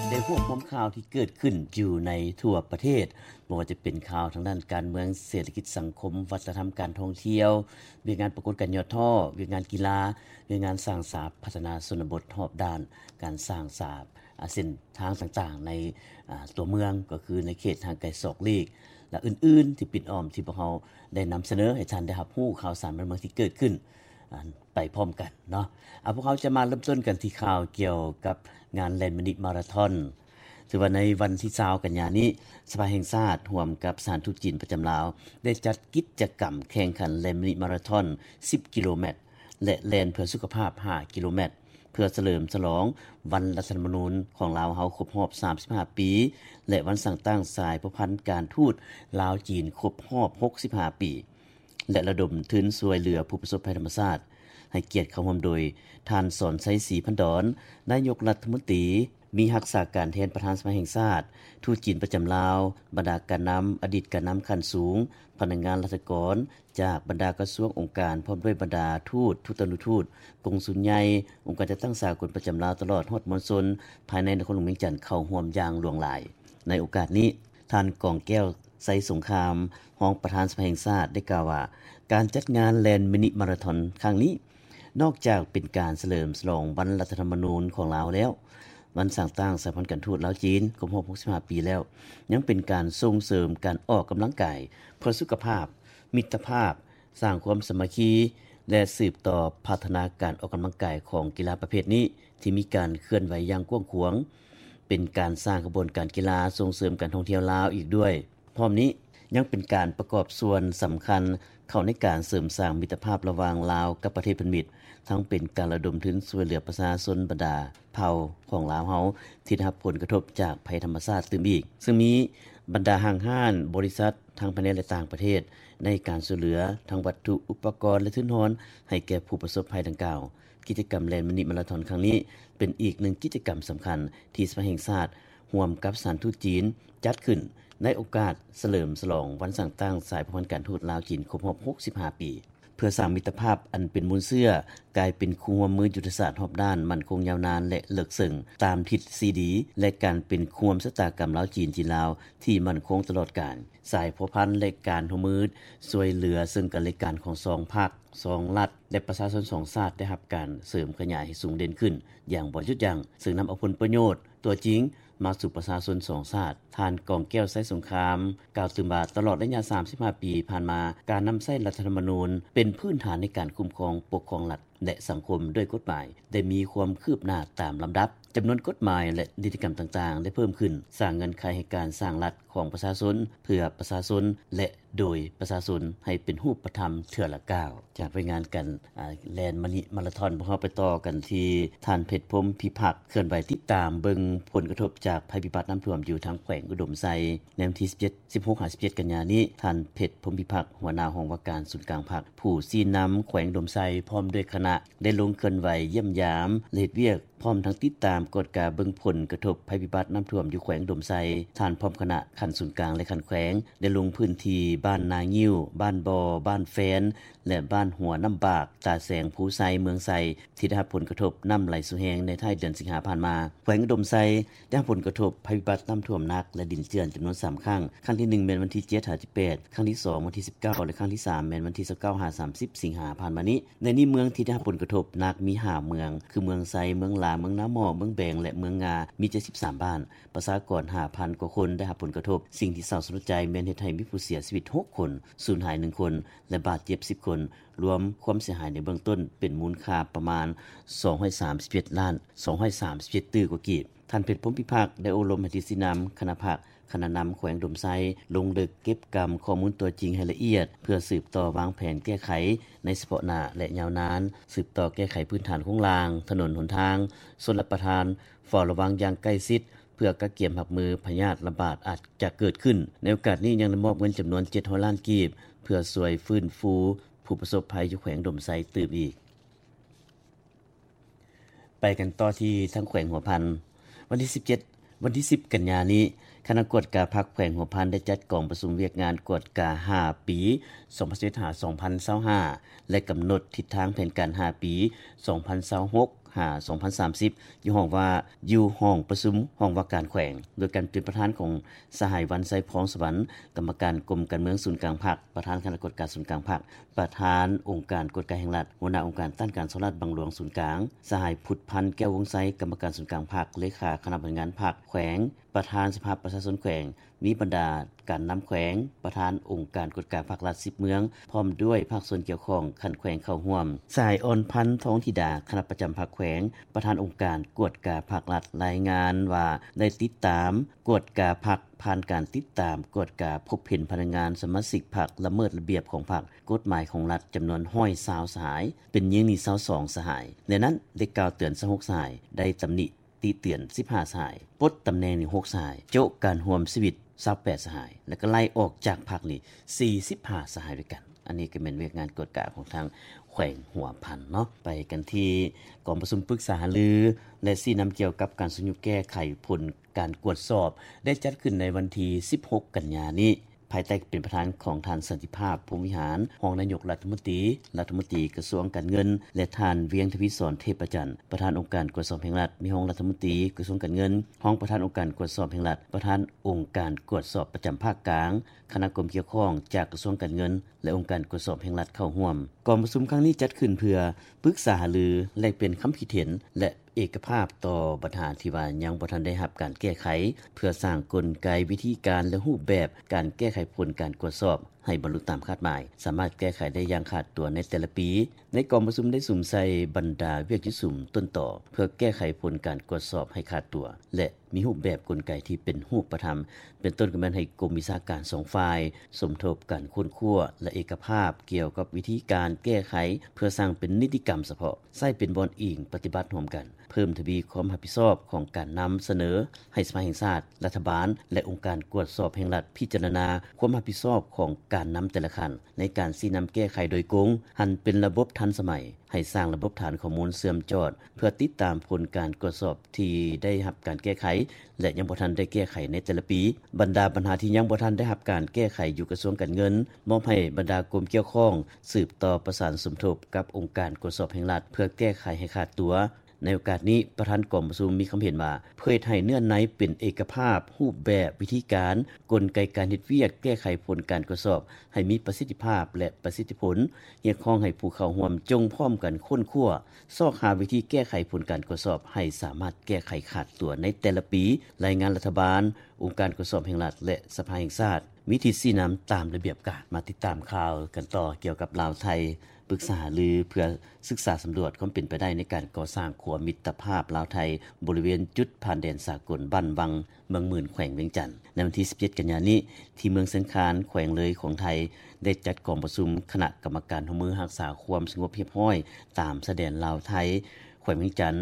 ໄດ້ຮວບຮວມຂ່າວທີ່ເກີດຂຶ້ນຢູ່ໃນທົ່ວປະເທດ, ບໍ່ວ່າຈະເປັນຂ່າວທາງດ້ານການເມືອງ, ເສດຖະກິດ, ສັງຄົມ, ວັດທະນະທຳ, ການທ່ອງທ່ຽວ, ວຽກງານປາກົດການຍອດທໍ້, ວຽກງານກິລາ, ວຽກງານສ້າງສາພັດທະນາຊົນນະບົດຮອບດ້ານ, ການສ້າງສາເສັ້ນທາງຕ່າງໆໃນຕົວເມືອງ, ກໍຄືໃນເຂດຫ່າງໄກສອກຫຼີກ ແລະ ອື່ນໆ ທີ່ປິດອ້ອມ ທີ່ພວກເຮົາໄດ້ນຳສະເໜີໃຫ້ທ່ານໄດ້ຮັບຮູ້ຂ່າວສານບ້ານເມືອງທີ່ເກີດຂຶ້ນ ໄປພ້ອມກັນເນາະ. ອາ ພວກເຮົາຈະມາເລີ່ມຕົ້ນກັນທີ່ຂ່າວກ່ຽວກັບງານແລ່ນມິນິມາລາທອນ. ຖືວ່າໃນວັນທີຊາວກັນຍານີ້, ສະພາແຫ່ງຊາດຮ່ວມກັບສະຖານທູດຈີນປະຈຳລາວ ໄດ້ຈັດກິດຈະກຳແຂ່ງຂັນແລ່ນມິນິມາລາທອນສິບກິໂລແມັດ ແລະ ແລ່ນເພື່ອສຸຂະພາບຫ້າກິໂລແມັດ ເພື່ອສະເຫຼີມສະຫຼອງວັນລັດຖະທຳມະນູນຂອງລາວເຮົາຄົບຮອບສາມສິບຫ້າປີ ແລະ ວັນສ້າງຕັ້ງສາຍພົວພັນການທູດລາວຈີນຄົບຮອບຫົກສິບຫ້າປີ ແລະ ລະດົມທຶນຊ່ວຍເຫຼືອຜູ້ປະສົບໄພທຳມະຊາດ. ໃຫ້ກຽດເຂົ້າຮ່ວມໂດຍ ທ່ານ ສອນໄຊ ສີພັນດອນ ນາຍົກລັດຖະມົນຕີ, ມີຮັກສາການແທນປະທານສະພາແຫ່ງຊາດ, ທູດຈີນປະຈຳລາວ, ບັນດາການນຳ, ອະດີດການນຳຂັ້ນສູງ, ພະນັກງານລັດຖະກອນຈາກບັນດາກະຊວງອົງການ, ພ້ອມດ້ວຍບັນດາທູດ, ທູດຕະນຸທູດ, ກົງສຸນໃຫຍ່, ອົງການຈັດຕັ້ງສາກົນປະຈຳລາວ, ຕະຫຼອດຮອດມວນຊົນພາຍໃນນະຄອນຫຼວງວຽງຈັນເຂົ້າຮ່ວມຢ່າງຫຼວງຫຼາຍ. ໃນໂອກາດນີ້, ທ່ານ ກອງແກ້ວ ໄຊສົງຄາມ ຮອງປະທານສະພາແຫ່ງຊາດ ໄດ້ກ່າວວ່າ ການຈັດງານແລ່ນມິນິມາລາທອນຄັ້ງນີ້ ນອກຈາກເປັນການສະເຫຼີມສະຫຼອງວັນລັດຖະທຳມະນູນຂອງລາວແລ້ວ, ວັນສ້າງຕັ້ງສາຍພັນການທູດລາວຈີນຄົບຮອບຫົກສິບຫ້າປີແລ້ວ, ຍັງເປັນການສົ່ງເສີມການອອກກຳລັງກາຍເພື່ອສຸຂະພາບ, ມິດຕະພາບ, ສ້າງຄວາມສາມັກຄີ ແລະ ສືບຕໍ່ພັດທະນາການອອກກຳລັງກາຍຂອງກິລາປະເພດນີ້ ທີ່ມີການເຄື່ອນໄຫວຢ່າງກວ້າງຂວາງ, ເປັນການສ້າງຂະບວນການກິລາ, ສົ່ງເສີມການທ່ອງທ່ຽວລາວອີກດ້ວຍ. ພ້ອມນີ້ຍັງເປັນການປະກອບສ່ວນສຳຄັນເຂົ້າໃນການເສີມສ້າງມິດຕະພາບລະຫວ່າງລາວກັບປະເທດພັນມິດ, ທັງເປັນການລະດົມທຶນຊ່ວຍເຫຼືອປະຊາຊົນບັນດາເຜົ່າຂອງລາວເຮົາທີ່ໄດ້ຮັບຜົນກະທົບຈາກໄພທຳມະຊາດຕື່ມອີກ, ເຊິ່ງມີບັນດາຫ້າງຮ້ານ, ບໍລິສັດ ທັງພາຍໃນ ແລະ ຕ່າງປະເທດ ໃນການຊ່ວຍເຫຼືອທັງວັດຖຸ, ອຸປະກອນ ແລະ ທຶນຮອນໃຫ້ແກ່ຜູ້ປະສົບໄພດັ່ງກ່າວ. ກິດຈະກຳແລ່ນມິນິມາລາທອນຄັ້ງນີ້ ເປັນອີກໜຶ່ງກິດຈະກຳສຳຄັນທີ່ສະພາແຫ່ງຊາດຮ່ວມກັບສະຖານທູດຈີນຈັດຂຶ້ນໃນໂອກາດສະເຫຼີມສະຫຼອງວັນສ້າງຕັ້ງສາຍພົວພັນການທູດລາວຈີນຄົບຮອບຫົກສິບຫ້າປີ, ເພື່ອສ້າງມິດຕະພາບອັນເປັນມູນເຊື້ອ ກາຍເປັນຄູ່ຮ່ວມມືຍຸດທະສາດຮອບດ້ານ ໝັ້ນຄົງຍາວນານ ແລະ ເລິກເຊິ່ງ ຕາມທິດສີ່ດີ ແລະ ການເປັນຄູ່ຮ່ວມຊະຕາກຳລາວຈີນ, ຈີນລາວ ທີ່ໝັ້ນຄົງຕະຫຼອດການ. ສາຍພົວພັນ ແລະ ການຮ່ວມມືຊ່ວຍເຫຼືອເຊິ່ງກັນແລະກັນຂອງສອງພັກ, ສອງລັດ ແລະ ປະຊາຊົນສອງຊາດ ໄດ້ຮັບການເສີມຂະຫຍາຍໃຫ້ສູງເດັ່ນຂຶ້ນຢ່າງບໍ່ຢຸດຢັ້ງ, ເຊິ່ງນຳເອົາຜົນປະໂຫຍດຕົວຈິງມາສູ່ປະຊາຊົນສອງຊາດ. ທ່ານ ກອງແກ້ວ ໄຊສົງຄາມ ກ່າວຕື່ມວ່າ ຕະຫຼອດໄລຍະສາມສິບຫ້າປີຜ່ານມາ, ການນຳໃຊ້ລັດຖະທຳມະນູນເປັນພື້ນຖານໃນການຄຸ້ມຄອງປົກຄອງລັດ ແລະ ສັງຄົມດ້ວຍກົດໝາຍ ໄດ້ມີຄວາມຄືບໜ້າຕາມລຳດັບ. ຈຳນວນກົດໝາຍ ແລະ ນິຕິກຳຕ່າງໆ ໄດ້ເພີ່ມຂຶ້ນ, ສ້າງເງື່ອນໄຂໃຫ້ການສ້າງລັດຂອງປະຊາຊົນ, ເພື່ອປະຊາຊົນ ແລະ ໂດຍປະຊາຊົນ ໃຫ້ເປັນຮູບປະທຳເທື່ອລະກ້າວ. ຈາກລາຍງານການ ອາ ແລ່ນມິນິມາລາທອນ, ພວກເຮົາໄປຕໍ່ກັນທີ່ທ່ານ ເພັດ ພົມພິພັກ ເຄື່ອນໄຫວຕິດຕາມເບິ່ງຜົນກະທົບຈາກໄພພິບັດນ້ຳຖ້ວມຢູ່ທາງແຂວງອຸດົມໄຊ. ໃນວັນທີສິບເຈັດ ສິບຫົກ ຫາ ສິບເຈັດ ກັນຍານີ້, ທ່ານ ເພັດ ພົມພິພັກ ຫົວໜ້າຫ້ອງວ່າການສູນກາງພັກ, ຜູ້ຊີ້ນຳແຂວງອຸດົມໄຊ ພ້ອມດ້ວຍຄະນະ ໄດ້ລົງເຄື່ອນໄຫວຢ້ຽມຢາມ ແລະ ເຮັດວຽກ ພ້ອມທັງຕິດຕາມກວດກາເບິ່ງຜົນກະທົບໄພພິບັດນ້ຳຖ້ວມຢູ່ແຂວງອຸດົມໄຊ. ທ່ານພ້ອມຄະນະຂັ້ນສູນກາງ ແລະ ຂັ້ນແຂວງ ໄດ້ລົງພື້ນທີ່ບ້ານນາງິ້ວ, ບ້ານບໍ່, ບ້ານແຟນ ແລະ ບ້ານຫົວນ້ຳບາກ, ຕາແສງ, ພູໄຊ, ເມືອງໄຊ ທີ່ໄດ້ຮັບຜົນກະທົບນ້ຳໄຫຼສູ່ແຮງໃນທ້າຍເດືອນສິງຫາຜ່ານມາ. ແຂວງອຸດົມໄຊ ໄດ້ຮັບຜົນກະທົບໄພພິບັດນ້ຳຖ້ວມໜັກ ແລະ ດິນເຈື່ອນຈຳນວນສາມຄັ້ງ, ຄັ້ງທີໜຶ່ງແມ່ນວັນທີເຈັດ ຫາ ສິບແປດ, ຄັ້ງທີສອງວັນທີສິບເກົ້າ ແລະ ຄັ້ງທີສາມແມ່ນວັນທີຊາວເກົ້າ ຫາ ສາມສິບ ສິງຫາຜ່ານມານີ້. ໃນນີ້ເມືອງທີ່ໄດ້ຮັບຜົນກະທົບໜັກມີຫ້າເມືອງ ຄືເມືອງໄຊ, ເມືອງຫຼາ, ເມືອງນາໝໍ້, ເມືອງແບງ ແລະ ເມືອງງາ ມີເຈັດສິບສາມບ້ານ, ປະຊາກອນຫ້າພັນກວ່າຄົນໄດ້ຮັບຜົນກະທົບ. ສິ່ງທີ່ເສົ້າສະຫຼົດໃຈແມ່ນເຮັດໃຫ້ມີຜູ້ເສຍຊີວິດຫົກຄົນ, ສູນຫາຍໜຶ່ງຄົນ ແລະ ບາດເຈັບສິບຄົນ, ລວມຄວາມເສຍຫາຍໃນເບື້ອງຕົ້ນເປັນມູນຄ່າປະມານສອງຮ້ອຍສາມສິບເຈັດລ້ານສອງຮ້ອຍສາມສິບເຈັດຕື້ກວ່າກີບ. ທ່ານ ເພັດ ພົມພິພັກ ໄດ້ໂອ້ລົມໃຫ້ທິດຊີ້ນຳຄະນະພັກ, ຄະນະນຳແຂວງອຸດົມໄຊ ລົງເລິກເກັບກຳຂໍ້ມູນຕົວຈິງໃຫ້ລະອຽດ ເພື່ອສືບຕໍ່ວາງແຜນແກ້ໄຂໃນສະເພາະໜ້າ ແລະ ຍາວນານ, ສືບຕໍ່ແກ້ໄຂພື້ນຖານໂຄງລ່າງ, ຖະໜົນຫົນທາງ, ຊົນລະປະທານ, ເຝົ້າລະວັງຢ່າງໃກ້ຊິດ ເພື່ອກະກຽມຮັບມືພະຍາດລະບາດອາດຈະເກີດຂຶ້ນ. ໃນໂອກາດນີ້ຍັງໄດ້ມອບເງິນຈຳນວນເຈັດຮ້ອຍລ້ານກີບ ເພື່ອຊ່ວຍຟື້ນຟູຜູ້ປະສົບໄພຢູ່ແຂວງອຸດົມໄຊຕື່ມອີກ. ໄປກັນຕໍ່ທີ່ທາງແຂວງຫົວພັນ. ວັນທີສິບເຈັດ ວັນທີສິບ ກັນຍານີ້, ຄະນະກວດກາພັກແຂວງຫົວພັນໄດ້ຈັດກອງປະຊຸມວຽກງານກວດກາຫ້າປີ ສອງພັນຊາວເອັດ ຫາ ສອງພັນຊາວຫ້າ ແລະ ກຳນົດທິດທາງແຜນການຫ້າປີ ສອງພັນຊາວຫົກ ຫາ ສອງພັນສາມສິບ ຢູ່ຫ້ອງວ່າ ຢູ່ຫ້ອງປະຊຸມຫ້ອງວ່າການແຂວງ ໂດຍການເປັນປະທານຂອງ ສະຫາຍ ວັນໄຊ ພອງສະຫວັນ ກຳມະການກົມການເມືອງສູນກາງພັກ, ປະທານຄະນະກວດກາສູນກາງພັກ, ປະທານອົງການກວດກາແຫ່ງລັດ, ຫົວໜ້າອົງການຕ້ານການສໍ້ລາດບັງຫຼວງສູນກາງ, ສະຫາຍ ພຸດພັນ ແກ້ວວົງໄຊ ກຳມະການສູນກາງພັກ, ເລຂາຄະນະບໍລິຫານງານພັກແຂວງ, ປະທານສະພາປະຊາຊົນແຂວງ, ມີບັນດາການນຳແຂວງ, ປະທານອົງການກວດກາພາກລັດສິບເມືອງ ພ້ອມດ້ວຍພາກສ່ວນກ່ຽວຂ້ອງຂັ້ນແຂວງເຂົ້າຮ່ວມ. ສະຫາຍ ອອນພັນ ທອງທິດາ ຄະນະປະຈຳພັກແຂວງ, ປະທານອົງການກວດກາພາກລັດ ລາຍງານວ່າໄດ້ຕິດຕາມກວດກາພັກ ຜ່ານການຕິດຕາມກວດກາພົບເຫັນພະນັກງານສະມາຊິກພັກລະເມີດລະບຽບຂອງພັກ, ກົດໝາຍຂອງລັດ ຈຳນວນ ໜຶ່ງຮ້ອຍຊາວສະຫາຍ, ເປັນຍິງນີ້ ຊາວສອງສະຫາຍ. ໃນນັ້ນໄດ້ກ່າວເຕືອນ ຊາວຫົກສະຫາຍ, ໄດ້ຕຳໜິ ຕິເຕືອນ ສິບຫ້າສະຫາຍ, ປົດຕຳແໜ່ງນີ້ ຫົກສະຫາຍ, ໂຈະການຮ່ວມຊີວິດ ຊາວແປດສະຫາຍ ແລ້ວກໍໄລ່ອອກຈາກພັກນີ້ ສີ່ສິບຫ້າສະຫາຍດ້ວຍກັນ. ອັນນີ້ກໍແມ່ນວຽກງານກວດກາຂອງທາງແຂວງຫົວພັນເນາະ. ໄປກັນທີ່ກອງປະຊຸມປຶກສາຫາລື ແລະ ຊີ້ນຳກ່ຽວກັບການຊຸກຍູ້ແກ້ໄຂຜົນການກວດສອບ ໄດ້ຈັດຂຶ້ນໃນວັນທີສິບຫົກກັນຍານີ້ ພາຍໃຕ້ການເປັນປະທານຂອງທ່ານ ສັນຕິພາບ ພົມວິຫານ ຮອງນາຍົກລັດຖະມົນຕີ, ລັດຖະມົນຕີກະຊວງການເງິນ ແລະ ທ່ານ ວຽງທະວີສອນ ເທບປະຈັນ ປະທານອົງການກວດສອບແຫ່ງລັດ, ມີຮອງລັດຖະມົນຕີກະຊວງການເງິນ, ຮອງປະທານອົງການກວດສອບແຫ່ງລັດ, ປະທານອົງການກວດສອບປະຈຳພາກກາງ, ຄະນະກົມກ່ຽວຂ້ອງຈາກກະຊວງການເງິນ ແລະ ອົງການກວດສອບແຫ່ງລັດເຂົ້າຮ່ວມ. ກອງປະຊຸມຄັ້ງນີ້ຈັດຂຶ້ນເພື່ອປຶກສາຫາລື, ແລກປ່ຽນຄຳຄິດເຫັນ ແລະ ເອກະພາບຕໍ່ບັນຫາທີ່ວ່າຍັງບໍ່ທັນໄດ້ຮັບການແກ້ໄຂ, ເພື່ອສ້າງກົນໄກ, ວິທີການ ແລະ ຮູບແບບການແກ້ໄຂຜົນການກວດສອບໃຫ້ບັນລຸຕາມຄາດໝາຍ, ສາມາດແກ້ໄຂໄດ້ຢ່າງຂາດຕົວໃນແຕ່ລະປີ. ໃນກອງປະຊຸມໄດ້ສຸມໃສ່ບັນດາວຽກຈຸດສຸມຕົ້ນຕໍ ເພື່ອແກ້ໄຂຜົນການກວດສອບໃຫ້ຂາດຕົວ ແລະ ມີຮູບແບບກົນໄກທີ່ເປັນຮູບປະທຳ, ເປັນຕົ້ນກໍແມ່ນໃຫ້ກົມວິຊາການສອງຝ່າຍສົມທົບກັນຄົ້ນຄວ້າ ແລະ ເອກະພາບກ່ຽວກັບວິທີການແກ້ໄຂ ເພື່ອສ້າງເປັນນິຕິກຳສະເພາະ, ໃຊ້ເປັນບ່ອນອີງປະຕິບັດຮ່ວມກັນ, ເພີ່ມທະວີຄວາມຮັບຜິດຊອບຂອງການນຳສະເໜີໃຫ້ສະພາແຫ່ງຊາດ, ລັດຖະບານ ແລະ ອົງການກວດສອບແຫ່ງລັດພິຈາລະນາຄວາມຮັບຜິດຊອບຂອງການນຳແຕ່ລະຂັ້ນ ໃນການຊີ້ນຳແກ້ໄຂໂດຍກົງ, ຫັນເປັນລະບົບທັນສະໄໝ, ໃຫ້ສ້າງລະບົບຖານຂໍ້ມູນເຊື່ອມຈອດ ເພື່ອຕິດຕາມຜົນການກວດສອບທີ່ໄດ້ຮັບການແກ້ໄຂ ແລະ ຍັງບໍ່ທັນໄດ້ແກ້ໄຂໃນແຕ່ລະປີ. ບັນດາບັນຫາທີ່ຍັງບໍ່ທັນໄດ້ຮັບການແກ້ໄຂຢູ່ກະຊວງການເງິນ, ມອບໃຫ້ບັນດາກົມກ່ຽວຂ້ອງສືບຕໍ່ປະສານສົມທົບກັບອົງການກວດສອບແຫ່ງລັດ ເພື່ອແກ້ໄຂໃຫ້ຂາດຕົວ. ໃນໂອກາດນີ້, ປະທານກອງປະຊຸມມີຄຳເຫັນວ່າ ເພື່ອເຮັດໃຫ້ເນື້ອໃນເປັນເອກະພາບ, ຮູບແບບ, ວິທີການ, ກົນໄກການເຮັດວຽກແກ້ໄຂຜົນການກວດສອບໃຫ້ມີປະສິດທິພາບ ແລະ ປະສິດທິຜົນ, ຮຽກຮ້ອງໃຫ້ຜູ້ເຂົ້າຮ່ວມຈົ່ງພ້ອມກັນຄົ້ນຄວ້າ, ຊອກຫາວິທີແກ້ໄຂຜົນການກວດສອບໃຫ້ສາມາດແກ້ໄຂຂາດຕົວໃນແຕ່ລະປີ, ລາຍງານລັດຖະບານ, ອົງການກວດສອບແຫ່ງລັດ ແລະ ສະພາແຫ່ງຊາດ ມີທິດຊີ້ນຳຕາມລະບຽບການ. ມາຕິດຕາມຂ່າວກັນຕໍ່ກ່ຽວກັບລາວ-ໄທ ປຶກສາຫາລືເພື່ອສຶກສາສຳຫຼວດຄວາມເປັນໄປໄດ້ໃນການກໍ່ສ້າງຂົວມິດຕະພາບລາວ-ໄທ ບໍລິເວນຈຸດຜ່ານແດນສາກົນບ້ານວັງ ເມືອງໝື່ນ ແຂວງວຽງຈັນ. ໃນວັນທີສິບເຈັດກັນຍານີ້ ທີ່ເມືອງຊຽງຄານ ແຂວງເລີຍຂອງໄທ ໄດ້ຈັດກອງປະຊຸມຄະນະກຳມະການຮ່ວມມືຮັກສາຄວາມສະຫງົບຮຽບຮ້ອຍຕາມຊາຍແດນລາວ-ໄທ ແຂວງວຽງຈັນ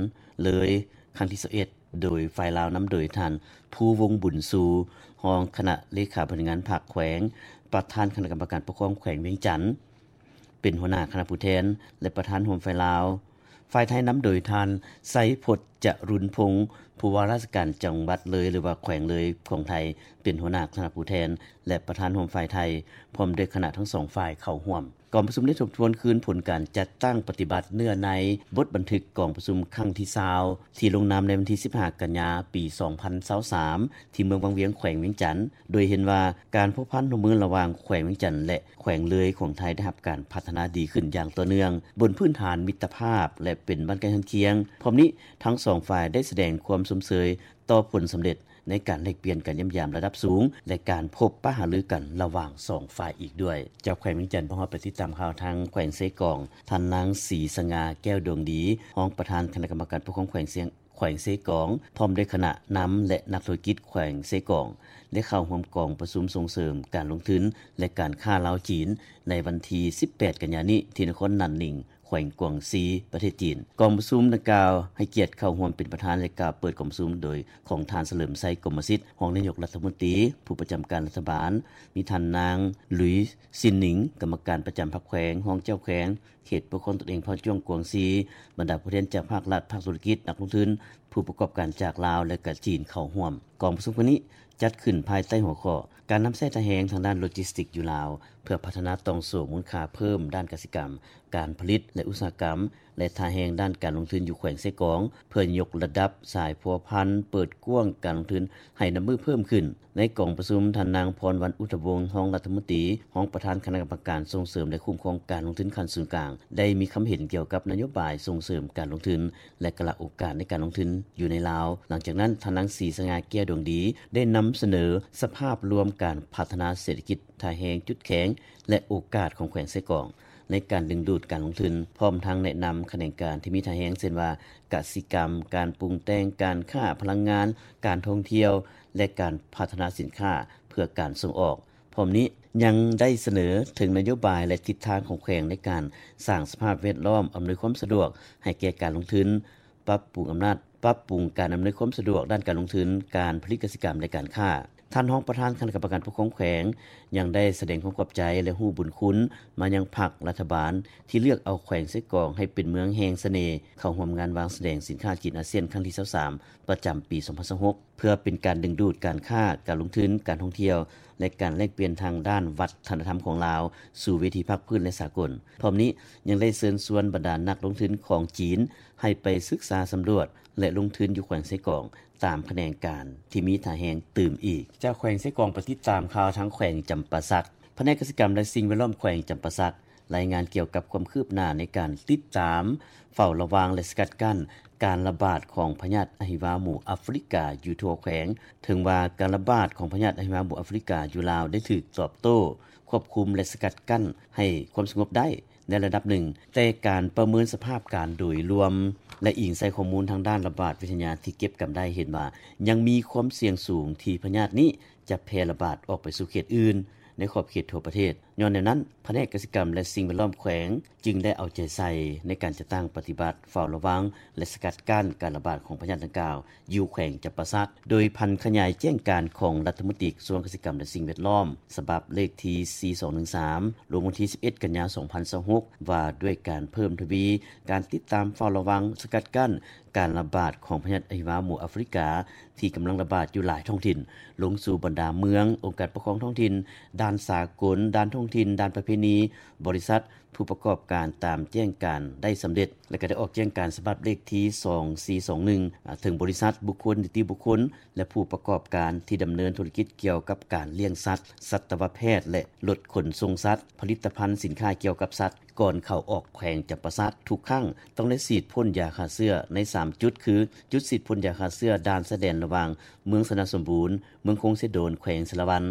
ເລີຍ ຄັ້ງທີຊາວເອັດ ໂດຍຝ່າຍລາວນຳໂດຍທ່ານ ພູວົງບຸນຊູ ຮອງຄະນະເລຂາບໍລິຫານງານພັກແຂວງ, ປະທານຄະນະກຳມະການປົກຄອງແຂວງວຽງຈັນ ເປັນຫົວໜ້າຄະນະຜູ້ແທນ ແລະ ປະທານຮ່ວມຝ່າຍລາວ, ຝ່າຍໄທນຳໂດຍທ່ານ ໄຊພົດ ຈະລຸນພົງ ຜູ້ວ່າລາຊະການຈັງຫວັດເລີຍ ຫຼືວ່າແຂວງເລີຍຂອງໄທ ເປັນຫົວໜ້າຄະນະຜູ້ແທນ ແລະ ປະທານຮ່ວມຝ່າຍໄທ ພ້ອມດ້ວຍຄະນະທັງສອງຝ່າຍເຂົ້າຮ່ວມ. ກອງປະຊຸມໄດ້ທົບທວນຄືນຜົນການຈັດຕັ້ງປະຕິບັດເນື້ອໃນບົດບັນທຶກກອງປະຊຸມຄັ້ງທີຊາວ ທີ່ລົງນາມໃນວັນທີສິບຫ້າກັນຍາ ປີສອງພັນຊາວສາມ ທີ່ເມືອງວັງວຽງ ແຂວງວຽງຈັນ, ໂດຍເຫັນວ່າການພົວພັນຮ່ວມມືລະຫວ່າງແຂວງວຽງຈັນ ແລະ ແຂວງເລີຍຂອງໄທໄດ້ຮັບການພັດທະນາດີຂຶ້ນຢ່າງຕໍ່ເນື່ອງ ບົນພື້ນຖານມິດຕະພາບ ແລະ ເປັນບ້ານໃກ້ເຮືອນຄຽງ. ພ້ອມນີ້, ທັງສອງຝ່າຍໄດ້ສະແດງຄວາມຊົມເຊີຍຕໍ່ຜົນສຳເລັດ ໃນການແລກປ່ຽນການຢ້ຽມຢາມລະດັບສູງ ແລະ ການພົບປະຫາລືກັນລະຫວ່າງສອງຝ່າຍອີກດ້ວຍ. ເຈົ້າແຂວງວຽງຈັນ ພວກເຮົາໄປຕິດຕາມຂ່າວທາງແຂວງເຊກອງ, ທ່ານນາງ ສີສະຫງ່າ ແກ້ວດວງດີ ຮອງປະທານຄະນະກຳມະການປົກຄອງແຂວງເຊ ແຂວງເຊກອງ ພ້ອມດ້ວຍຄະນະນຳ ແລະ ນັກທຸລະກິດແຂວງເຊກອງ ໄດ້ເຂົ້າຮ່ວມກອງປະຊຸມສົ່ງເສີມການລົງທຶນ ແລະ ການຄ້າລາວ-ຈີນ ໃນວັນທີສິບແປດກັນຍານີ້ ທີ່ນະຄອນນັນໜິງ ແຂວງກວາງຊີ ປະເທດຈີນ. ກອງປະຊຸມດັ່ງກ່າວໃຫ້ກຽດເຂົ້າຮ່ວມເປັນປະທານ ແລະ ກ່າວເປີດກອງປະຊຸມໂດຍຂອງທ່ານ ສະເຫຼີມໄຊ ກົມມະສິດ ຮອງນາຍົກລັດຖະມົນຕີ ຜູ້ປະຈຳການລັດຖະບານ, ມີທ່ານນາງ ລຸຍ ຊິນໜິງ ກຳມະການປະຈຳພັກແຂວງ, ຮອງເຈົ້າແຂວງ, ເຂດປົກຄອງຕົນເອງເຜົ່າຈ້ວງກວາງຊີ, ບັນດາຜູ້ແທນຈາກພາກລັດ, ພາກທຸລະກິດ, ນັກລົງທຶນ, ຜູ້ປະກອບການຈາກລາວ ແລະ ກະຈີນເຂົ້າຮ່ວມ. ກອງປະຊຸມຄັ້ງນີ້ຈັດຂຶ້ນພາຍໃຕ້ຫົວຂໍ້ ການນຳໃຊ້ທ່າແຮງທາງດ້ານໂລຈິສຕິກຢູ່ລາວ ເພື່ອພັດທະນາຕ່ອງໂສ້ມູນຄ່າເພີ່ມດ້ານກະສິກຳ, ການຜະລິດ ແລະ ອຸດສາຫະກຳ ແລະ ທ່າແຮງດ້ານການລົງທຶນຢູ່ແຂວງເຊກອງ ເພື່ອຍົກລະດັບສາຍພົວພັນ, ເປີດກວ້າງການລົງທຶນໃຫ້ນັບມື້ເພີ່ມຂຶ້ນ. ໃນກອງປະຊຸມ, ທ່ານນາງ ພອນວັນ ອຸດທະວົງ ຮອງລັດຖະມົນຕີ, ຮອງປະທານຄະນະກຳມະການສົ່ງເສີມ ແລະ ຄຸ້ມຄອງການລົງທຶນຂັ້ນສູນກາງ ໄດ້ມີຄຳເຫັນກ່ຽວກັບນະໂຍບາຍສົ່ງເສີມການລົງທຶນ ແລະ ກະລະໂອກາດໃນການລົງທຶນຢູ່ໃນລາວ. ຫຼັງຈາກນັ້ນ, ທ່ານນາງ ສີສະຫງ່າ ແກ້ວດວງດີ ໄດ້ນຳສະເໜີສະພາບລວມການພັດທະນາເສດຖະກິດ, ທ່າແຮງ, ຈຸດແຂງ ແລະ ໂອກາດຂອງແຂວງເຊກອງ ໃນການດຶງດູດການລົງທຶນ, ພ້ອມທັງແນະນຳຂະແໜງການທີ່ມີທ່າແຮງ ເຊັ່ນວ່າ ກະສິກຳ, ການປຸງແຕ່ງ, ການຄ້າ, ພະລັງງານ, ການທ່ອງທ່ຽວ ແລະ ການພັດທະນາສິນຄ້າເພື່ອການສົ່ງອອກ. ພ້ອມນີ້ຍັງໄດ້ສະເໜີເຖິງນະໂຍບາຍ ແລະ ທິດທາງຂອງແຂວງໃນການສ້າງສະພາບແວດລ້ອມອຳນວຍຄວາມສະດວກໃຫ້ແກ່ການລົງທຶນ, ປັບປຸງອຳນາດ, ປັບປຸງການອຳນວຍຄວາມສະດວກດ້ານການລົງທຶນ, ການຜະລິດກະສິກຳ ແລະ ການຄ້າ. ທ່ານຮອງປະທານຄະນະກຳມະການປົກຄອງແຂວງ ຍັງໄດ້ສະແດງຄວາມຂອບໃຈ ແລະ ຮູ້ບຸນຄຸນມາຍັງພັກລັດຖະບານ ທີ່ເລືອກເອົາແຂວງເຊກອງໃຫ້ເປັນເມືອງແຫ່ງສະເໜ່ ເຂົ້າຮ່ວມງານວາງສະແດງສິນຄ້າຈີນອາຊຽນຄັ້ງທີຊາວສາມ ປະຈຳປີສອງພັນຊາວຫົກ ເພື່ອເປັນການດຶງດູດການຄ້າ, ການລົງທຶນ, ການທ່ອງທ່ຽວ ແລະ ການແລກປ່ຽນທາງດ້ານວັດທະນະທຳຂອງລາວສູ່ເວທີພາກພື້ນ ແລະ ສາກົນ. ພ້ອມນີ້ຍັງໄດ້ເຊີນຊວນບັນດານັກລົງທຶນຂອງຈີນໃຫ້ໄປສຶກສາສຳຫຼວດ ແລະ ລົງທຶນຢູ່ແຂວງເຊກອງ ຕາມຂະແໜງການທີ່ມີທ່າແຮງຕື່ມອີກ. ຈາກແຂວງເຊກອງໄປຕິດຕາມຂ່າວທາງແຂວງຈຳປາສັກ. ພະແນກກະສິກຳ ແລະ ສິ່ງແວດລ້ອມແຂວງຈຳປາສັກ ລາຍງານກ່ຽວກັບຄວາມຄືບໜ້າໃນການຕິດຕາມ, ເຝົ້າລະວັງ ແລະ ສະກັດກັ້ນການລະບາດຂອງພະຍາດອະຫິວາໝູອາຟຣິກາຢູ່ທົ່ວແຂວງ. ເຖິງວ່າການລະບາດຂອງພະຍາດອະຫິວາໝູອາຟຣິກາຢູ່ລາວໄດ້ຖືກຕອບໂຕ້, ຄວບຄຸມ ແລະ ສະກັດກັ້ນໃຫ້ຄວາມສະຫງົບໄດ້ ໃນລະດັບໜຶ່ງ, ແຕ່ການປະເມີນສະພາບການໂດຍລວມ ແລະ ອີງໃສ່ຂໍ້ມູນທາງດ້ານລະບາດວິທະຍາທີ່ເກັບກຳໄດ້ ເຫັນວ່າຍັງມີຄວາມສ່ຽງສູງທີ່ພະຍາດນີ້ຈະແຜ່ລະບາດອອກໄປສູ່ເຂດອື່ນໃນຂອບເຂດທົ່ວປະເທດ. ຍ້ອນແນວນັ້ນ, ພະແນກກະສິກຳ ແລະ ສິ່ງແວດລ້ອມແຂວງຈຶ່ງໄດ້ເອົາໃຈໃສ່ໃນການຈັດຕັ້ງປະຕິບັດ, ເຝົ້າລະວັງ ແລະ ສະກັດກັ້ນການລະບາດຂອງພະຍາດດັ່ງກ່າວ ຢູ່ແຂວງຈຳປາສັກ, ໂດຍຜັນຂະຫຍາຍແຈ້ງການຂອງລັດຖະມົນຕີກະຊວງກະສິກຳ ແລະ ສິ່ງແວດລ້ອມ ສະບັບເລກທີສີ່ສອງໜຶ່ງສາມ ລົງວັນທີສິບເອັດ ກັນຍາ ສອງພັນຊາວຫົກ ວ່າດ້ວຍການເພີ່ມທະວີການຕິດຕາມ, ເຝົ້າລະວັງ, ສະກັດກັ້ນການລະບາດຂອງພະຍາດອະຫິວາໝູອາຟຣິກາ ທີ່ກຳລັງລະບາດຢູ່ຫຼາຍທ້ອງຖິ່ນ ລົງສູ່ບັນດາເມືອງ, ອົງການປົກຄອງທ້ອງຖິ່ນ, ດ່ານສາກົນ, ດ່ານທ້ອງຖິ່ນ, ດ່ານປະເພນີ, ບໍລິສັດ, ຜູ້ປະກອບການຕາມແຈ້ງການໄດ້ສຳເລັດ ແລະ ກໍໄດ້ອອກແຈ້ງການສະບັບເລກທີສອງສີ່ສອງໜຶ່ງ ເຖິງບໍລິສັດ, ບຸກຄົນ, ນິຕິບຸກຄົນ ແລະ ຜູ້ປະກອບການທີ່ດຳເນີນທຸລະກິດກ່ຽວກັບການລ້ຽງສັດ, ສັດຕະວະແພດ ແລະ ລົດຂົນສົ່ງສັດ, ຜະລິດຕະພັນສິນຄ້າກ່ຽວກັບສັດ ກ່ອນເຂົ້າອອກແຂວງຈຳປາສັກ. ທຸກຄັ້ງຕ້ອງໄດ້ສີດພົ່ນຢາຂ້າເຊື້ອໃນສາມຈຸດ ຄື ຈຸດສີດພົ່ນຢາຂ້າເຊື້ອດ່ານຊາຍແດນລະຫວ່າງເມືອງຊະນະສົມບູນ, ເມືອງຄົງເຊໂດນ ແຂວງສາລະວັນ,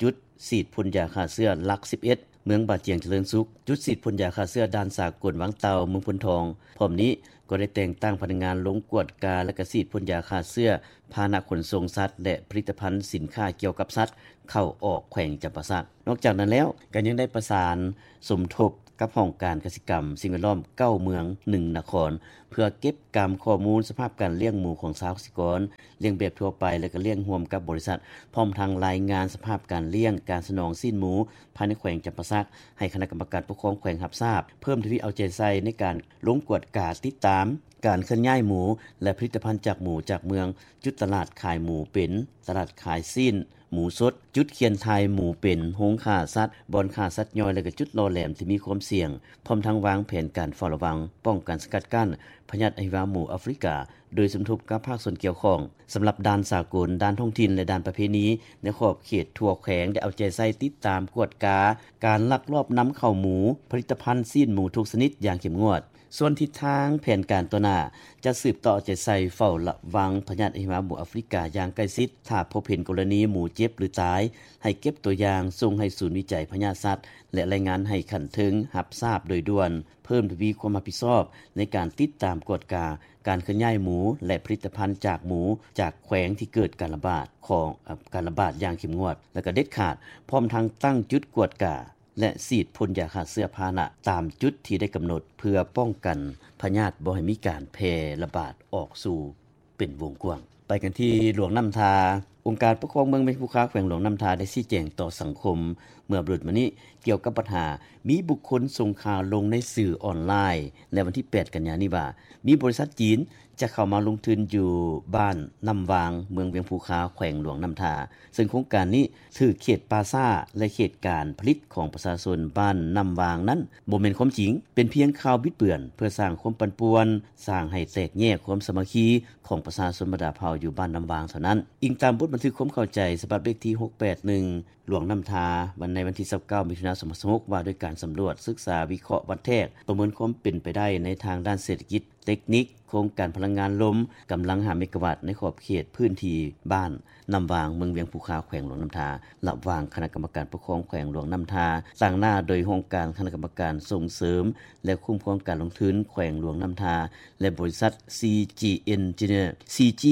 ຈຸດສີດພົ່ນຢາຂ້າເຊື້ອຫຼັກສິບເອັດ ເມືອງບາຈຽງຈະເລີນສຸກ, ຈຸດສີດພົ່ນຢາຂ້າເຊື້ອດ່ານສາກົນວັງເຕົ່າ ເມືອງໂພນທອງ. ພ້ອມນີ້ກໍໄດ້ແຕ່ງຕັ້ງພະນັກງານລົງກວດກາ ແລະ ກະສີດພົ່ນຢາຂ້າເຊື້ອພາຫະນະຂົນສົ່ງສັດ ແລະ ຜະລິດຕະພັນສິນຄ້າກ່ຽວກັບສັດເຂົ້າອອກແຂວງຈຳປາສັກ. ນອກຈາກນັ້ນແລ້ວ, ກໍຍັງໄດ້ປະສານສົມທົບກັບຫ້ອງການກະສິກຳ, ສິ່ງແວດລ້ອມ ເກົ້າເມືອງ ໜຶ່ງນະຄອນ ເພື່ອເກັບກຳຂໍ້ມູນສະພາບການລ້ຽງໝູຂອງຊາວກະສິກອນ, ລ້ຽງແບບທົ່ວໄປ ແລະ ກໍລ້ຽງຮ່ວມກັບບໍລິສັດ, ພ້ອມທັງລາຍງານສະພາບການລ້ຽງ, ການສະໜອງຊີ້ນໝູພາຍໃນແຂວງຈຳປາສັກ ໃຫ້ຄະນະກຳມະການປົກຄອງແຂວງຮັບຊາບ, ເພີ່ມທະວີເອົາໃຈໃສ່ໃນການລົງກວດກາຕິດຕາມການເຄື່ອນຍ້າຍໝູ ແລະ ຜະລິດຕະພັນຈາກໝູຈາກເມືອງ, ຈຸດຕະຫຼາດຂາຍໝູເປັນ, ຕະຫຼາດຂາຍຊີ້ນ ໝູສົດ, ຈຸດຂຽນຖ່າຍໝູເປັນ, ໂຮງຂ້າສັດ, ບ່ອນຂ້າສັດຍ່ອຍ ແລະ ກໍຈຸດຫຼໍ່ແຫຼມທີ່ມີຄວາມສ່ຽງ, ພ້ອມທັງວາງແຜນການເຝົ້າລະວັງ, ປ້ອງກັນສະກັດກັ້ນພະຍາດອະຫິວາໝູອາຟຣິກາ ໂດຍສົມທົບກັບພາກສ່ວນກ່ຽວຂ້ອງ. ສຳລັບດ່ານສາກົນ, ດ່ານທ້ອງຖິ່ນ ແລະ ດ່ານປະເພນີໃນຂອບເຂດທົ່ວແຂວງ ໄດ້ເອົາໃຈໃສ່ຕິດຕາມກວດກາການລັກລອບນຳເຂົ້າໝູ, ຜະລິດຕະພັນຊີ້ນໝູທຸກຊະນິດຢ່າງເຂັ້ມງວດ. ສ່ວນທິດທາງແຜນການຕໍ່ໜ້າ ຈະສືບຕໍ່ເອົາໃຈໃສ່ເຝົ້າລະວັງພະຍາດອະຫິວາໝູອາຟຣິກາຢ່າງໃກ້ຊິດ. ຖ້າພົບເຫັນກໍລະນີໝູເຈັບ ຫຼື ຕາຍ, ໃຫ້ເກັບຕົວຢ່າງສົ່ງໃຫ້ສູນວິໄຈພະຍາດສັດ ແລະ ລາຍງານໃຫ້ຂັ້ນເທິງຮັບຊາບໂດຍດ່ວນ. ເພີ່ມທະວີຄວາມຮັບຜິດຊອບໃນການຕິດຕາມກວດກາການເຄື່ອນຍ້າຍໝູ ແລະ ຜະລິດຕະພັນຈາກໝູຈາກແຂວງທີ່ເກີດການລະບາດຂອງ ເອີ່ ການລະບາດຢ່າງເຂັ້ມງວດ ແລະ ກໍເດັດຂາດ, ພ້ອມທັງຕັ້ງຈຸດກວດກາ ແລະ ສີດພົ່ນຢາຂ້າເຊື້ອພາຫະນະຕາມຈຸດທີ່ໄດ້ກຳນົດ ເພື່ອປ້ອງກັນພະຍາດບໍ່ໃຫ້ມີການແຜ່ລະບາດອອກສູ່ເປັນວົງກວ້າງ. ໄປກັນທີ່ຫຼວງນ້ຳທາ. ອົງການປົກຄອງເມືອງວຽງພູຄາ ແຂວງຫຼວງນ້ຳທາ ໄດ້ຊີ້ແຈງຕໍ່ສັງຄົມເມື່ອບໍ່ດົນມານີ້ ກ່ຽວກັບບັນຫາມີບຸກຄົນສົ່ງຂ່າວລົງໃນສື່ອອນລາຍໃນວັນທີ ແປດ ກັນຍານີ້ວ່າ ມີບໍລິສັດຈີນຈະເຂົ້າມາລົງທຶນຢູ່ບ້ານນ້ຳວາງ ເມືອງວຽງພູຄາ ແຂວງຫຼວງນ້ຳທາ ເຊິ່ງໂຄງການນີ້ຖືກເຂດປ່າຊ້າ ແລະເຂດການຜະລິດຂອງປະຊາຊົນບ້ານນ້ຳວາງນັ້ນບໍ່ແມ່ນຄວາມຈິງ ເປັນພຽງຂ່າວບິດເບືອນ ເພື່ອສ້າງຄວາມປັ່ນປ່ວນ ສ້າງໃຫ້ແຕກແຍກຄວາມສາມັກຄີຂອງປະຊາຊົນບັນດາເຜົ່າຢູ່ບ້ານນ້ຳວາງເທົ່ານັ້ນ. ອີງຕາມບົດບັນທຶກຄວາມເຂົ້າໃຈສະບັບເລກທີ ຫົກແປດໜຶ່ງ ຫຼວງນ້ຳທາ ວັນໃນວັນທີ ຊາວເກົ້າ ມິຖຸນາ ສອງພັນຊາວຫົກ ວ່າດ້ວຍການສຳຫຼວດ, ສຶກສາ, ວິເຄາະ, ວັດແທກ, ປະເມີນຄວາມເປັນໄປໄດ້ໃນທາງດ້ານເສດຖະກິດ, ເຕັກນິກ, ໂຄງການພະລັງງານລົມກຳລັງ ຫ້າ ເມກາວັດ ໃນຂອບເຂດພື້ນທີ່ບ້ານນ້ຳວາງ ເມືອງວຽງພູຄາ ແຂວງຫຼວງນ້ຳທາ ລະຫວ່າງຄະນະກຳມະການປົກຄອງແຂວງຫຼວງນ້ຳທາ ຕາງໜ້າໂດຍຫ້ອງການຄະນະກຳມະການສົ່ງເສີມ ແລະຄຸ້ມຄອງການລົງທຶນແຂວງຫຼວງນ້ຳທາ ແລະບໍລິສັດ ຊີຈີ ເອັນເນເຈີ ຊີຈີ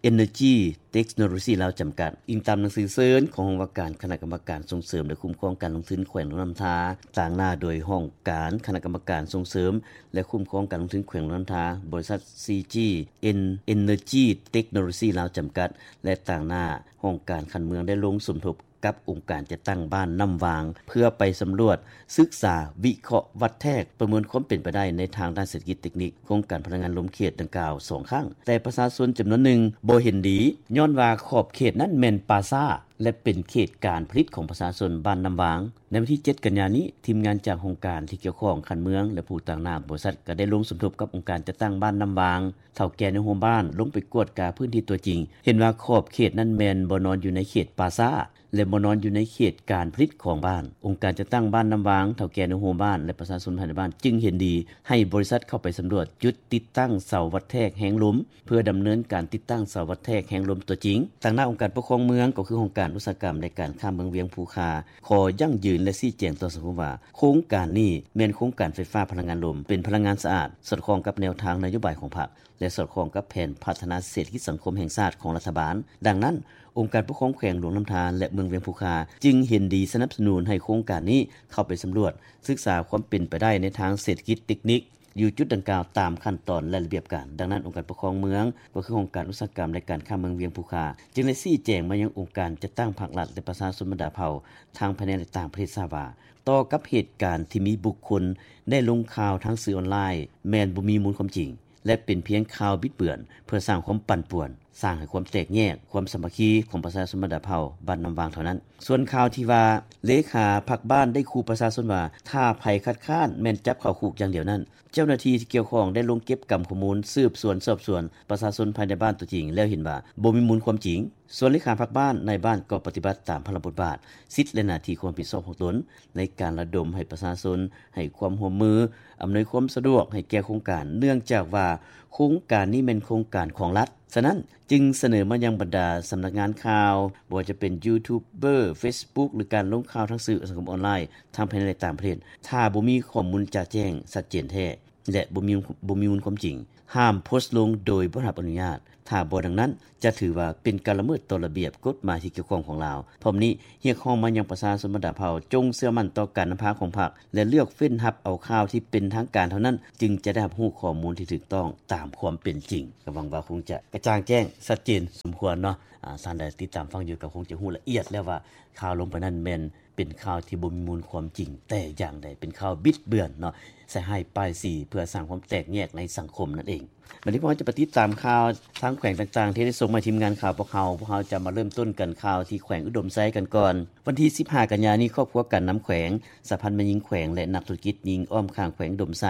ເອັນເນີຈີ ເຕັກໂນໂລຊີລາວ ຈຳກັດ. ອີງຕາມໜັງສືເຊີນຂອງຫ້ອງວ່າການຄະນະກຳມະການສົ່ງເສີມ ແລະຄຸ້ມຄອງການລົງທຶນແຂວງຫຼວງນ້ຳທາ ຕາງໜ້າໂດຍຫ້ອງການຄະນະກຳມະການສົ່ງເສີມ ແລະຄຸ້ມຄອງການລົງທຶນແຂວງຫຼວງນ້ຳທາ, ບໍລິສັດ ຊີຈີ ເອັນເນີຈີ ເຕັກໂນໂລຊີລາວ ຈຳກັດ ແລະຕາງໜ້າຫ້ອງການຂັ້ນເມືອງ ໄດ້ລົງສົມທົບກັບອົງການຈັດຕັ້ງບ້ານນ້ຳວາງ ເພື່ອໄປສຳຫຼວດ, ສຶກສາ, ວິເຄາະ, ວັດແທກ, ປະເມີນຄວາມເປັນໄປໄດ້ໃນທາງດ້ານເສດຖະກິດເຕັກນິກ ໂຄງການພະລັງງານລົມເຂດດັ່ງກ່າວສອງຄັ້ງ, ແຕ່ປະຊາຊົນຈຳນວນໜຶ່ງບໍ່ເຫັນດີ ຍ້ອນວ່າຂອບເຂດນັ້ນແມ່ນປ່າຊ້າ ແລະເປັນເຂດການຜະລິດຂອງປະຊາຊົນບ້ານນ້ຳວາງ. ໃນວັນທີ ເຈັດ ກັນຍານີ້, ທີມງານຈາກຫ້ອງການທີ່ກ່ຽວຂ້ອງຂັ້ນເມືອງ ແລະຜູ້ຕາງໜ້າບໍລິສັດ ກໍໄດ້ລົງສົມທົບກັບອົງການຈັດຕັ້ງບ້ານນ້ຳວາງ, ເຖົ້າແກ່ໃນໂຮມບ້ານ ລົງໄປກວດກາພື້ນທີ່ຕົວຈິງ, ເຫັນວ່າຂອບເຂດນັ້ນແມ່ນບໍ່ນອນຢູ່ໃນເຂດປ່າຊ້າ ແລະບໍ່ນອນຢູ່ໃນເຂດການຜະລິດຂອງບ້ານ. ອົງການຈັດຕັ້ງບ້ານນ້ຳວາງ, ເຖົ້າແກ່ໃນໂຮມບ້ານ ແລະປະຊາຊົນພາຍໃນບ້ານ ຈຶ່ງເຫັນດີໃຫ້ບໍລິສັດເຂົ້າໄປສຳຫຼວດຈຸດຕິດຕັ້ງເສົາວັດແທກແຮງລົມ ເພື່ອດຳເນີນການຕິດຕັ້ງເສົາວັດແທກແຮງລົມຕົວຈິງ. ຕາງໜ້າອົງການປົກຄອງເມືອງ ກໍຄືຫ້ອງການອຸດສາຫະກຳ ແລະການຄ້າເມືອງວຽງພູຄາ ຂໍຢັ້ງຢືນ ແລະຊີ້ແຈງຕໍ່ສັງຄົມວ່າ ໂຄງການນີ້ແມ່ນໂຄງການໄຟຟ້າພະລັງງານລົມ ເປັນພະລັງງານສະອາດ, ສອດຄ່ອງກັບແນວທາງນະໂຍບາຍຂອງພັກ ແລະສອດຄ່ອງກັບແຜນພັດທະນາເສດຖະກິດສັງຄົມແຫ່ງຊາດຂອງລັດຖະບານ. ດັ່ງນັ້ນ, ອົງການປົກຄອງແຂວງຫຼວງນ້ຳທາ ແລະເມືອງວຽງພູຄາ ຈຶ່ງເຫັນດີສະໜັບສະໜູນໃຫ້ໂຄງການນີ້ເຂົ້າໄປສຳຫຼວດ, ສຶກສາຄວາມເປັນໄປໄດ້ໃນທາງເສດຖະກິດເຕັກນິກ ຢູ່ຈຸດດັ່ງກ່າວຕາມຂັ້ນຕອນ ແລະລະບຽບການ. ດັ່ງນັ້ນ, ອົງການປົກຄອງເມືອງ ກໍຄືຫ້ອງການອຸດສາຫະກຳ ແລະການຄ້າເມືອງວຽງພູຄາ ຈຶ່ງໄດ້ຊີ້ແຈງມາຍັງອົງການຈັດຕັ້ງພາກລັດ ແລະປະຊາຊົນບັນດາເຜົ່າ ທັງພາຍໃນ ແລະຕ່າງປະເທດຊາບວ່າ ຕໍ່ກັບເຫດການທີ່ມີບຸກຄົນໄດ້ລົງຂ່າວທາງສື່ອອນລາຍ ແມ່ນບໍ່ມີມູນຄວາມຈິງ ແລະເປັນພຽງຂ່າວບິດເບືອນ ເພື່ອສ້າງຄວາມປັ່ນປ່ວນ, ສ້າງໃຫ້ຄວາມແຕກແຍກຄວາມສາມັກຄີຂອງປະຊາຊົນບັນດາເຜົ່າບ້ານນ້ຳວາງເທົ່ານັ້ນ. ສ່ວນຂ່າວທີ່ວ່າ ເລຂາພັກບ້ານໄດ້ຂູ່ປະຊາຊົນວ່າ ຖ້າໃຜຄັດຄ້ານແມ່ນຈັບເຂົ້າຄຸກຢ່າງດຽວນັ້ນ, ເຈົ້າໜ້າທີ່ທີ່ກ່ຽວຂ້ອງໄດ້ລົງເກັບກຳຂໍ້ມູນ, ສືບສວນສອບສວນປະຊາຊົນພາຍໃນບ້ານຕົວຈິງ ແລ້ວເຫັນວ່າບໍ່ມີມູນຄວາມຈິງ. ສ່ວນເລຂາພັກບ້ານ, ນາຍບ້ານກໍປະຕິບັດຕາມພາລະບົດບາດ, ສິດ ແລະໜ້າທີ່ຄວາມຮັບຜິດຊອບຂອງຕົນ ໃນການລະດົມໃຫ້ປະຊາຊົນໃຫ້ຄວາມຮ່ວມມື, ອຳນວຍຄວາມສະດວກໃຫ້ແກ່ໂຄງການ, ເນື່ອງຈາກວ່າໂຄງການນີ້ແມ່ນໂຄງການຂອງລັດ. ສະນັ້ນ, ຈຶ່ງສະເໜີມາຍັງບັນດາສຳນັກງານຂ່າວ, ບໍ່ວ່າຈະເປັນຢູທູບເບີ, ເຟສບຸກ ຫຼື ການລົງຂ່າວທາງສື່ສັງຄົມອອນລາຍ ທັງພາຍໃນ ແລະຕ່າງປະເທດ, ຖ້າບໍ່ມີຂໍ້ມູນຈະແຈ້ງ, ຊັດເຈນແທ້ ແລະ ບໍ່ມີ, ບໍ່ມີມູນຄວາມຈິງ, ຫ້າມໂພສລົງໂດຍບໍ່ໄດ້ຮັບອະນຸຍາດ. ຖ້າບໍ່ດັ່ງນັ້ນ, ຈະຖືວ່າເປັນການລະເມີດຕໍ່ລະບຽບກົດໝາຍທີ່ກ່ຽວຂ້ອງຂອງລາວ. ພ້ອມນີ້, ຮຽກຮ້ອງມາຍັງປະຊາຊົນບັນດາເຜົ່າ ຈົ່ງເຊື່ອໝັ້ນຕໍ່ການນຳພາຂອງພັກ ແລະ ເລືອກເຟ້ນຮັບເອົາຂ່າວທີ່ເປັນທາງການເທົ່ານັ້ນ, ຈຶ່ງຈະໄດ້ຮັບຮູ້ຂໍ້ມູນທີ່ຖືກຕ້ອງຕາມຄວາມເປັນຈິງ. ກໍຫວັງວ່າຄົງຈະກະຈ່າງແຈ້ງ, ຊັດເຈນສົມຄວນເນາະ. ອາ, ທ່ານໃດຕິດຕາມຟັງຢູ່ ກໍຄົງຈະຮູ້ລະອຽດແລ້ວວ່າ ຂ່າວລົງໄປນັ້ນແມ່ນ ເປັນຂ່າວທີ່ບໍ່ມີມູນຄວາມຈິງແຕ່ຢ່າງໃດ, ເປັນຂ່າວບິດເບືອນເນາະ, ໃສ່ຮ້າຍປ້າຍສີ ເພື່ອສ້າງຄວາມແຕກແຍກໃນສັງຄົມນັ້ນເອງ. ບັດນີ້ພວກເຮົາຈະໄປຕິດຕາມຂ່າວທາງແຂວງຕ່າງໆ ທີ່ໄດ້ສົ່ງມາໃຫ້ທີມງານຂ່າວພວກເຮົາ. ພວກເຮົາຈະມາເລີ່ມຕົ້ນກັນຂ່າວທີ່ແຂວງອຸດົມໄຊກັນກ່ອນ. ວັນທີ ສິບຫ້າ ກັນຍານີ້, ຄອບຄົວການນຳແຂວງ, ສະຫະພັນແມ່ຍິງແຂວງ ແລະ ນັກທຸລະກິດຍິງອ້ອມຂ້າງແຂວງອຸດົມໄຊ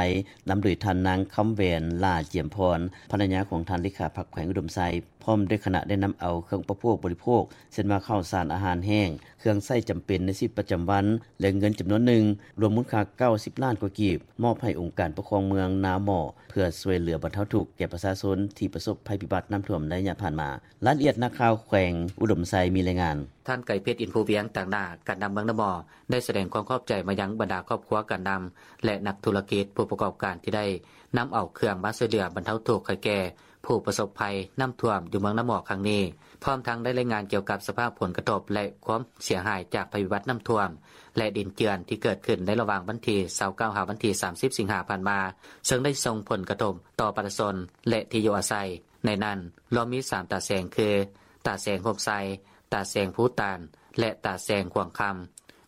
ນຳໂດຍທ່ານນາງ ຄຳແຫວນ ຫຼ້າຈຽມພອນ, ພັນລະຍາຂອງທ່ານເລຂາພັກແຂວງອຸດົມໄຊ ພ້ອມດ້ວຍຄະນະ ໄດ້ນຳເອົາເຄື່ອງອຸປະໂພກບໍລິໂພກ ເຊັ່ນວ່າ ເຂົ້າສານອາຫານແຫ້ງ, ເຄື່ອງໃຊ້ຈຳເປັນໃນຊີວິດປະຈຳວັນ ແລະ ເງິນຈຳນວນໜຶ່ງ ລວມມູນຄ່າ ເກົ້າສິບລ້ານກວ່າກີບ ມອບໃຫ້ອົງການປົກຄອງເມືອງນາໝໍ້ ເພື່ອຊ່ວຍເຫຼືອບັນເທົາທຸກແກ່ປະຊາຊົນທີ່ປະສົບໄພພິບັດນ້ຳຖ້ວມໃນໄລຍະຜ່ານມາ. ລາຍລະອຽດ ນັກຂ່າວແຂວງອຸດົມໄຊມີລາຍງານ. ທ່ານ ໄກເພັດ ອິນພູວຽງ ຕາງໜ້າການນຳເມືອງນາໝໍ້ ໄດ້ສະແດງຄວາມຂອບໃຈມາຍັງບັນດາຄອບຄົວການນຳ ແລະ ນັກທຸລະກິດ, ຜູ້ປະກອບການທີ່ໄດ້ນຳເອົາເຄື່ອງມາຊ່ວຍເຫຼືອບັນເທົາທຸກໃຫ້ແກ່ ຜູ້ປະສົບໄພນ້ຳຖ້ວມຢູ່ເມືອງນາໝໍ້ຄັ້ງນີ້, ພ້ອມທັງໄດ້ລາຍງານກ່ຽວກັບສະພາບຜົນກະທົບ ແລະ ຄວາມເສຍຫາຍຈາກໄພພິບັດນ້ຳຖ້ວມ ແລະ ດິນເຈື່ອນທີ່ເກີດຂຶ້ນໃນລະຫວ່າງວັນທີ ຊາວເກົ້າ ຫາວັນທີ ສາມສິບ ສິງຫາຜ່ານມາ, ເຊິ່ງໄດ້ສົ່ງຜົນກະທົບຕໍ່ປະຊາຊົນ ແລະ ທີ່ຢູ່ອາໄສ. ໃນນັ້ນລວມມີ ສາມ ຕາແສງ ຄື ຕາແສງໂຮມໄຊ, ຕາແສງພູຕານ ແລະ ຕາແສງຂວາງຄຳ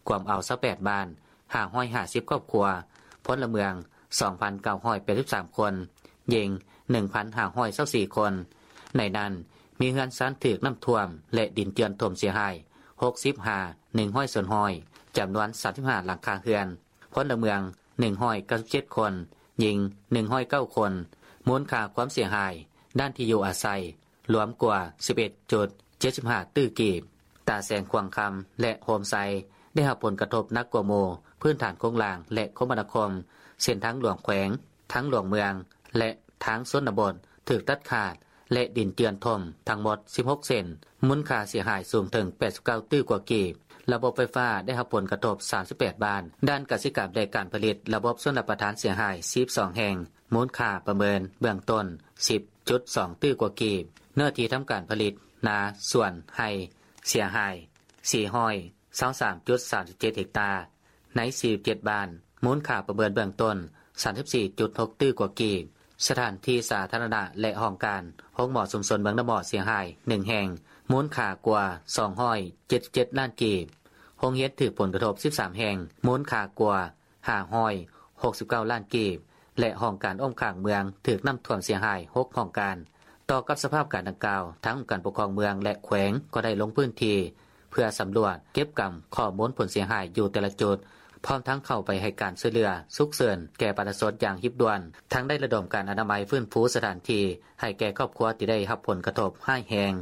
ກວມເອົາຊາວແປດບ້ານ, ຫ້າຮ້ອຍຫ້າສິບຄອບຄົວ, ພົນລະເມືອງສອງພັນເກົ້າຮ້ອຍແປດສິບສາມຄົນ, ຍິງໜຶ່ງພັນຫ້າຮ້ອຍຊາວສີ່ຄົນ. ໃນນັ້ນ ມີເຮືອນຊານຖືກນ້ຳຖ້ວມ ແລະ ດິນເຈື່ອນຖົມເສຍຫາຍຫົກສິບຫ້າ ໜຶ່ງຮ້ອຍສ່ວນຮ້ອຍ ຈຳນວນສາມສິບຫ້າຫຼັງຄາເຮືອນ, ພົນລະເມືອງໜຶ່ງຮ້ອຍເກົ້າສິບເຈັດຄົນ, ຍິງໜຶ່ງຮ້ອຍເກົ້າຄົນ. ມູນຄ່າຄວາມເສຍຫາຍດ້ານທີ່ຢູ່ອາໄສ ລວມກວ່າສິບເອັດຈຸດເຈັດສິບຫ້າຕື້ກີບ. ຕາແສງຂວາງຄຳ ແລະ ໂຮມໄຊ ໄດ້ຮັບຜົນກະທົບໜັກກວ່າໝູ່, ພື້ນຖານໂຄງລ່າງ ແລະ ຄົມມະນາຄົມ, ເສັ້ນທາງຫຼວງແຂວງ, ທາງຫຼວງເມືອງ ແລະ ທາງຊົນນະບົດ ຖືກຕັດຂາດ ແລະ ດິນເຈື່ອນຖົ່ມທັງໝົດສິບຫົກເສັ້ນ, ມູນຄ່າເສຍຫາຍສູງເຖິງແປດສິບເກົ້າຕື້ກວ່າກີບ. ລະບົບໄຟຟ້າໄດ້ຮັບຜົນກະທົບສາມສິບແປດບ້ານ. ດ້ານກະສິກຳ ແລະ ການຜະລິດ, ລະບົບຊົນລະປະທານເສຍຫາຍສິບສອງແຫ່ງ, ມູນຄ່າປະເມີນເບື້ອງຕົ້ນສິບຈຸດສອງຕື້ກວ່າກີບ. ເນື້ອທີ່ທຳການຜະລິດນາສວນໄຮ່ເສຍຫາຍສີ່ຮ້ອຍຊາວສາມຈຸດສາມສິບເຈັດເຮັກຕາ ໃນສີ່ສິບເຈັດບ້ານ, ມູນຄ່າປະເມີນເບື້ອງຕົ້ນສາມສິບສີ່ຈຸດຫົກຕື້ກວ່າກີບ. ສະຖານທີ່ສາທາລະນະ ແລະ ຫ້ອງການໂຮງໝໍຊຸມຊົນເມືອງນາໝໍ້ເສຍຫາຍໜຶ່ງແຫ່ງ, ມູນຄ່າກວ່າສອງຮ້ອຍເຈັດສິບເຈັດລ້ານກີບ. ໂຮງຮຽນຖືກຜົນກະທົບສິບສາມແຫ່ງ, ມູນຄ່າກວ່າ ຫ້າຮ້ອຍຫົກສິບເກົ້າລ້ານກີບ ແລະ ຫ້ອງການອ້ອມຂ້າງເມືອງຖືກນ້ຳຖ້ວມເສຍຫາຍຫົກຫ້ອງການ. ຕໍ່ກັບສະພາບການດັ່ງກ່າວ, ທາງອົງການປົກຄອງເມືອງ ແລະ ແຂວງກໍໄດ້ລົງພື້ນທີ່ເພື່ອສຳຫຼວດເກັບກຳຂໍ້ມູນຜົນເສຍຫາຍຢູ່ແຕ່ລະຈຸດ, ພ້ອມທັງເຂົ້າໄປໃຫ້ການຊ່ວຍເຫຼືອສຸກເສີນແກ່ປະຊາຊົນຢ່າງຮີບດ່ວນ, ທັງໄດ້ລະດົມການອະນາໄມຟື້ນຟູສະຖານທີ່ໃຫ້ແກ່ຄອບຄົວທີ່ໄດ້ຮັບຜົນກະທົບຮ້າຍແຮງ.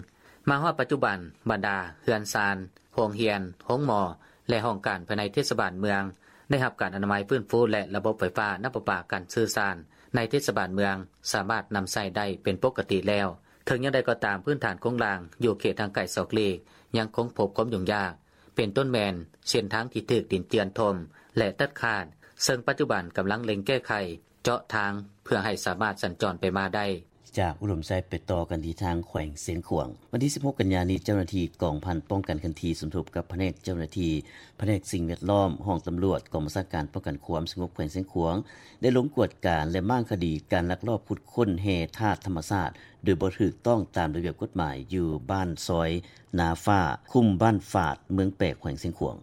ມາຮອດປັດຈຸບັນ, ບັນດາເຮືອນຊານ, ໂຮງຮຽນ, ໂຮງໝໍ ແລະ ຫ້ອງການພາຍໃນເທດສະບານເມືອງ ໄດ້ຮັບການອະນາໄມຟື້ນຟູ ແລະ ລະບົບໄຟຟ້າ, ນ້ຳປະປາ, ການສື່ສານໃນເທດສະບານເມືອງສາມາດນຳໃຊ້ໄດ້ເປັນປົກກະຕິແລ້ວ. ເຖິງຢ່າງໃດກໍຕາມ, ພື້ນຖານໂຄງລ່າງຢູ່ເຂດຫ່າງໄກສອກຫຼີກຍັງຄົງພົບຄວາມຫຍຸ້ງຍາກ, ເປັນຕົ້ນແມ່ນເສັ້ນທາງທີ່ຖືກດິນເຈື່ອນຖົ່ມ ແລະ ຕັດຂາດ, ເຊິ່ງປັດຈຸບັນກຳລັງເລັ່ງແກ້ໄຂ ເຈາະທາງເພື່ອໃຫ້ສາມາດສັນຈອນໄປມາໄດ້. ຈາກອຸດົມໄຊໄປຕໍ່ກັນທີ່ທາງແຂວງຊຽງຂວາງ. ວັນທີສິບຫົກກັນຍານີ້, ເຈົ້າໜ້າທີ່ກອງພັນປ້ອງກັນເຄື່ອນທີ່ ສົມທົບກັບພະແນກເຈົ້າໜ້າທີ່ ພະແນກສິ່ງແວດລ້ອມ, ຫ້ອງຕຳຫຼວດ, ກອງບັນຊາການປ້ອງກັນຄວາມສະຫງົບແຂວງຊຽງຂວາງ ໄດ້ລົງກວດກາ ແລະ ມ້າງຄະດີການລັກລອບຂຸດຄົ້ນແຮ່ທາດທຳມະຊາດໂດຍບໍ່ຖືກຕ້ອງຕາມລະບຽບກົດໝາຍ ຢູ່ບ້ານຊອຍນາຟ້າ, ຄຸ້ມບ້ານຝາດ, ເມືອງແປກ, ແຂວງຊຽງຂວາງ.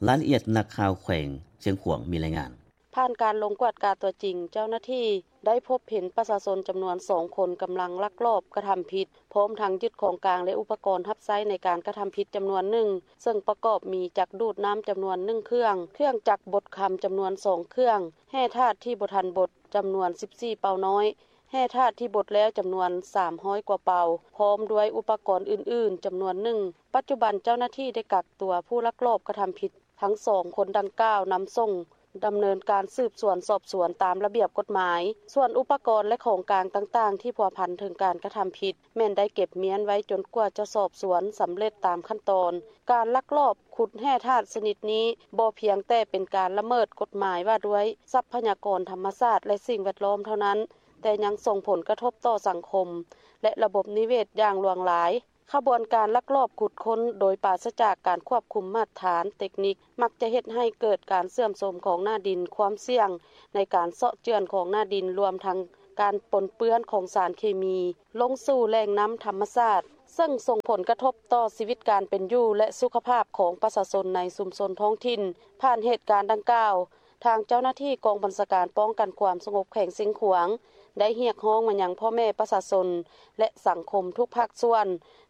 ລາຍລະອຽດ ນັກຂ່າວແຂວງຊຽງຂວາງມີລາຍງານ. ຜ່ານການລົງກວດກາຕົວຈິງ, ເຈົ້າໜ້າທີ່ໄດ້ພົບເຫັນປະຊາຊົນຈຳນວນສອງຄົນກຳລັງລັກລອບກະທຳຜິດ, ພ້ອມທັງຍຶດຂອງກາງ ແລະ ອຸປະກອນຮັບໃຊ້ໃນການກະທຳຜິດຈຳນວນໜຶ່ງ, ເຊິ່ງປະກອບມີຈັກດູດນ້ຳຈຳນວນໜຶ່ງເຄື່ອງ, ເຄື່ອງຈັກບົດຄຳຈຳນວນສອງເຄື່ອງ, ແຮ່ທາດທີ່ບໍ່ທັນບົດຈຳນວນສິບສີ່ເປົານ້ອຍ, ແຮ່ທາດທີ່ບົດແລ້ວຈຳນວນສາມຮ້ອຍກວ່າເປົາ, ພ້ອມດ້ວຍອຸປະກອນອື່ນໆຈຳນວນໜຶ່ງ. ປັດຈຸບັນເຈົ້າໜ້າທີ່ໄດ້ກັກຕົວຜູ້ລັກລອບກະທຳຜິດ ທັງສອງຄົນດັ່ງກ່າວນຳສົ່ງດຳເນີນການສືບສວນສອບສວນຕາມລະບຽບກົດໝາຍ. ສ່ວນອຸປະກອນ ແລະ ຂອງກາງຕ່າງໆທີ່ພົວພັນເຖິງການກະທຳຜິດ ແມ່ນໄດ້ເກັບມ້ຽນໄວ້ຈົນກວ່າຈະສອບສວນສຳເລັດຕາມຂັ້ນຕອນ. ການລັກລອບຂຸດແຮ່ທາດຊະນິດນີ້ ບໍ່ພຽງແຕ່ເປັນການລະເມີດກົດໝາຍວ່າດ້ວຍຊັບພະຍາກອນທຳມະຊາດ ແລະ ສິ່ງແວດລ້ອມເທົ່ານັ້ນ, ແຕ່ຍັງສົ່ງຜົນກະທົບຕໍ່ສັງຄົມ ແລະ ລະບົບນິເວດຢ່າງຫຼວງຫຼາຍ. ຂະບວນການລັກລອບຂຸດຄົ້ນໂດຍປາສະຈາກການຄວບຄຸມມາດຖານເຕັກນິກ ມັກຈະເຮັດໃຫ້ເກີດການເສື່ອມໂຊມຂອງໜ້າດິນ, ຄວາມສ່ຽງໃນການເຊາະເຈື່ອນຂອງໜ້າດິນ, ລວມທັງການປົນເປື້ອນຂອງສານເຄມີລົງສູ່ແຫຼ່ງນ້ຳທຳມະຊາດ, ເຊິ່ງສົ່ງຜົນກະທົບຕໍ່ຊີວິດການເປັນຢູ່ ແລະ ສຸຂະພາບຂອງປະຊາຊົນໃນຊຸມຊົນທ້ອງຖິ່ນ. ຜ່ານເຫດການດັ່ງກ່າວ, ທາງເຈົ້າໜ້າທີ່ກອງບັນຊາການປ້ອງກັນຄວາມສະຫງົບແຂວງຊຽງຂວາງ ໄດ້ຮຽກຮ້ອງມາຍັງພໍ່ແມ່ປະຊາຊົນ ແລະ ສັງຄົມທຸກພາກສ່ວນ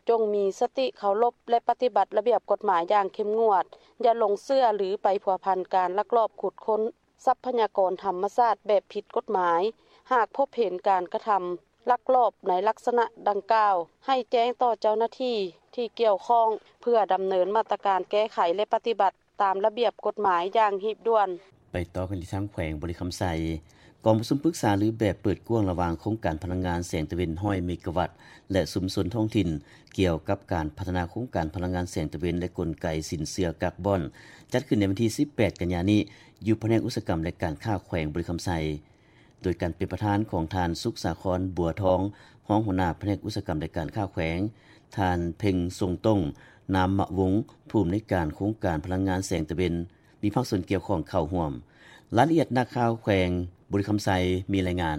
ຈົ່ງມີສະຕິເຄົາລົບ ແລະ ປະຕິບັດລະບຽບກົດໝາຍຢ່າງເຂັ້ມງວດ, ຢ່າຫຼົງເຊື່ອ ຫຼື ໄປພົວພັນການລັກລອບຂຸດຄົ້ນຊັບພະຍາກອນທຳມະຊາດແບບຜິດກົດໝາຍ. ຫາກພົບເຫັນການກະທຳລັກລອບໃນລັກສະນະດັ່ງກ່າວ, ໃຫ້ແຈ້ງຕໍ່ເຈົ້າໜ້າທີ່ທີ່ກ່ຽວຂ້ອງ ເພື່ອດຳເນີນມາດຕະການແກ້ໄຂ ແລະ ປະຕິບັດ ຕາມລະບຽບກົດໝາຍຢ່າງຮີບດ່ວນ. ໄປຕໍ່ກັນທີ່ທາງແຂວງບໍລິຄຳໄຊ. ກອງປະຊຸມປຶກສາລືແບບເປີດກວ້າງລະຫວ່າງໂຄງການພະລັງງານແສງຕາເວັນຮ້ອຍເມກາວັດ ແລະ ຊຸມຊົນທ້ອງຖິ່ນ ກ່ຽວກັບການພັດທະນາໂຄງການພະລັງງານແສງຕາເວັນ ແລະ ກົນໄກສິນເຊື່ອກາບອນ ຈັດຂຶ້ນໃນວັນທີສິບແປດກັນຍານີ້ ຢູ່ພະແນກອຸດສາຫະກຳ ແລະ ການຄ້າແຂວງບໍລິຄຳໄຊ ໂດຍການເປັນປະທານຂອງທ່ານ ສຸກສາຄອນ ບົວທອງ, ຮອງຫົວໜ້າພະແນກອຸດສາຫະກຳ ແລະ ການຄ້າແຂວງ, ທ່ານ ເພັງຊົງຕົງ ນາມມະວົງ, ຜູ້ອຳນວຍການໂຄງການພະລັງງານແສງຕາເວັນ, ມີພາກສ່ວນກ່ຽວຂ້ອງເຂົ້າຮ່ວມ. ລາຍລະອຽດ ນັກຂ່າວແຂວງບໍລິຄຳໄຊມີລາຍງານ.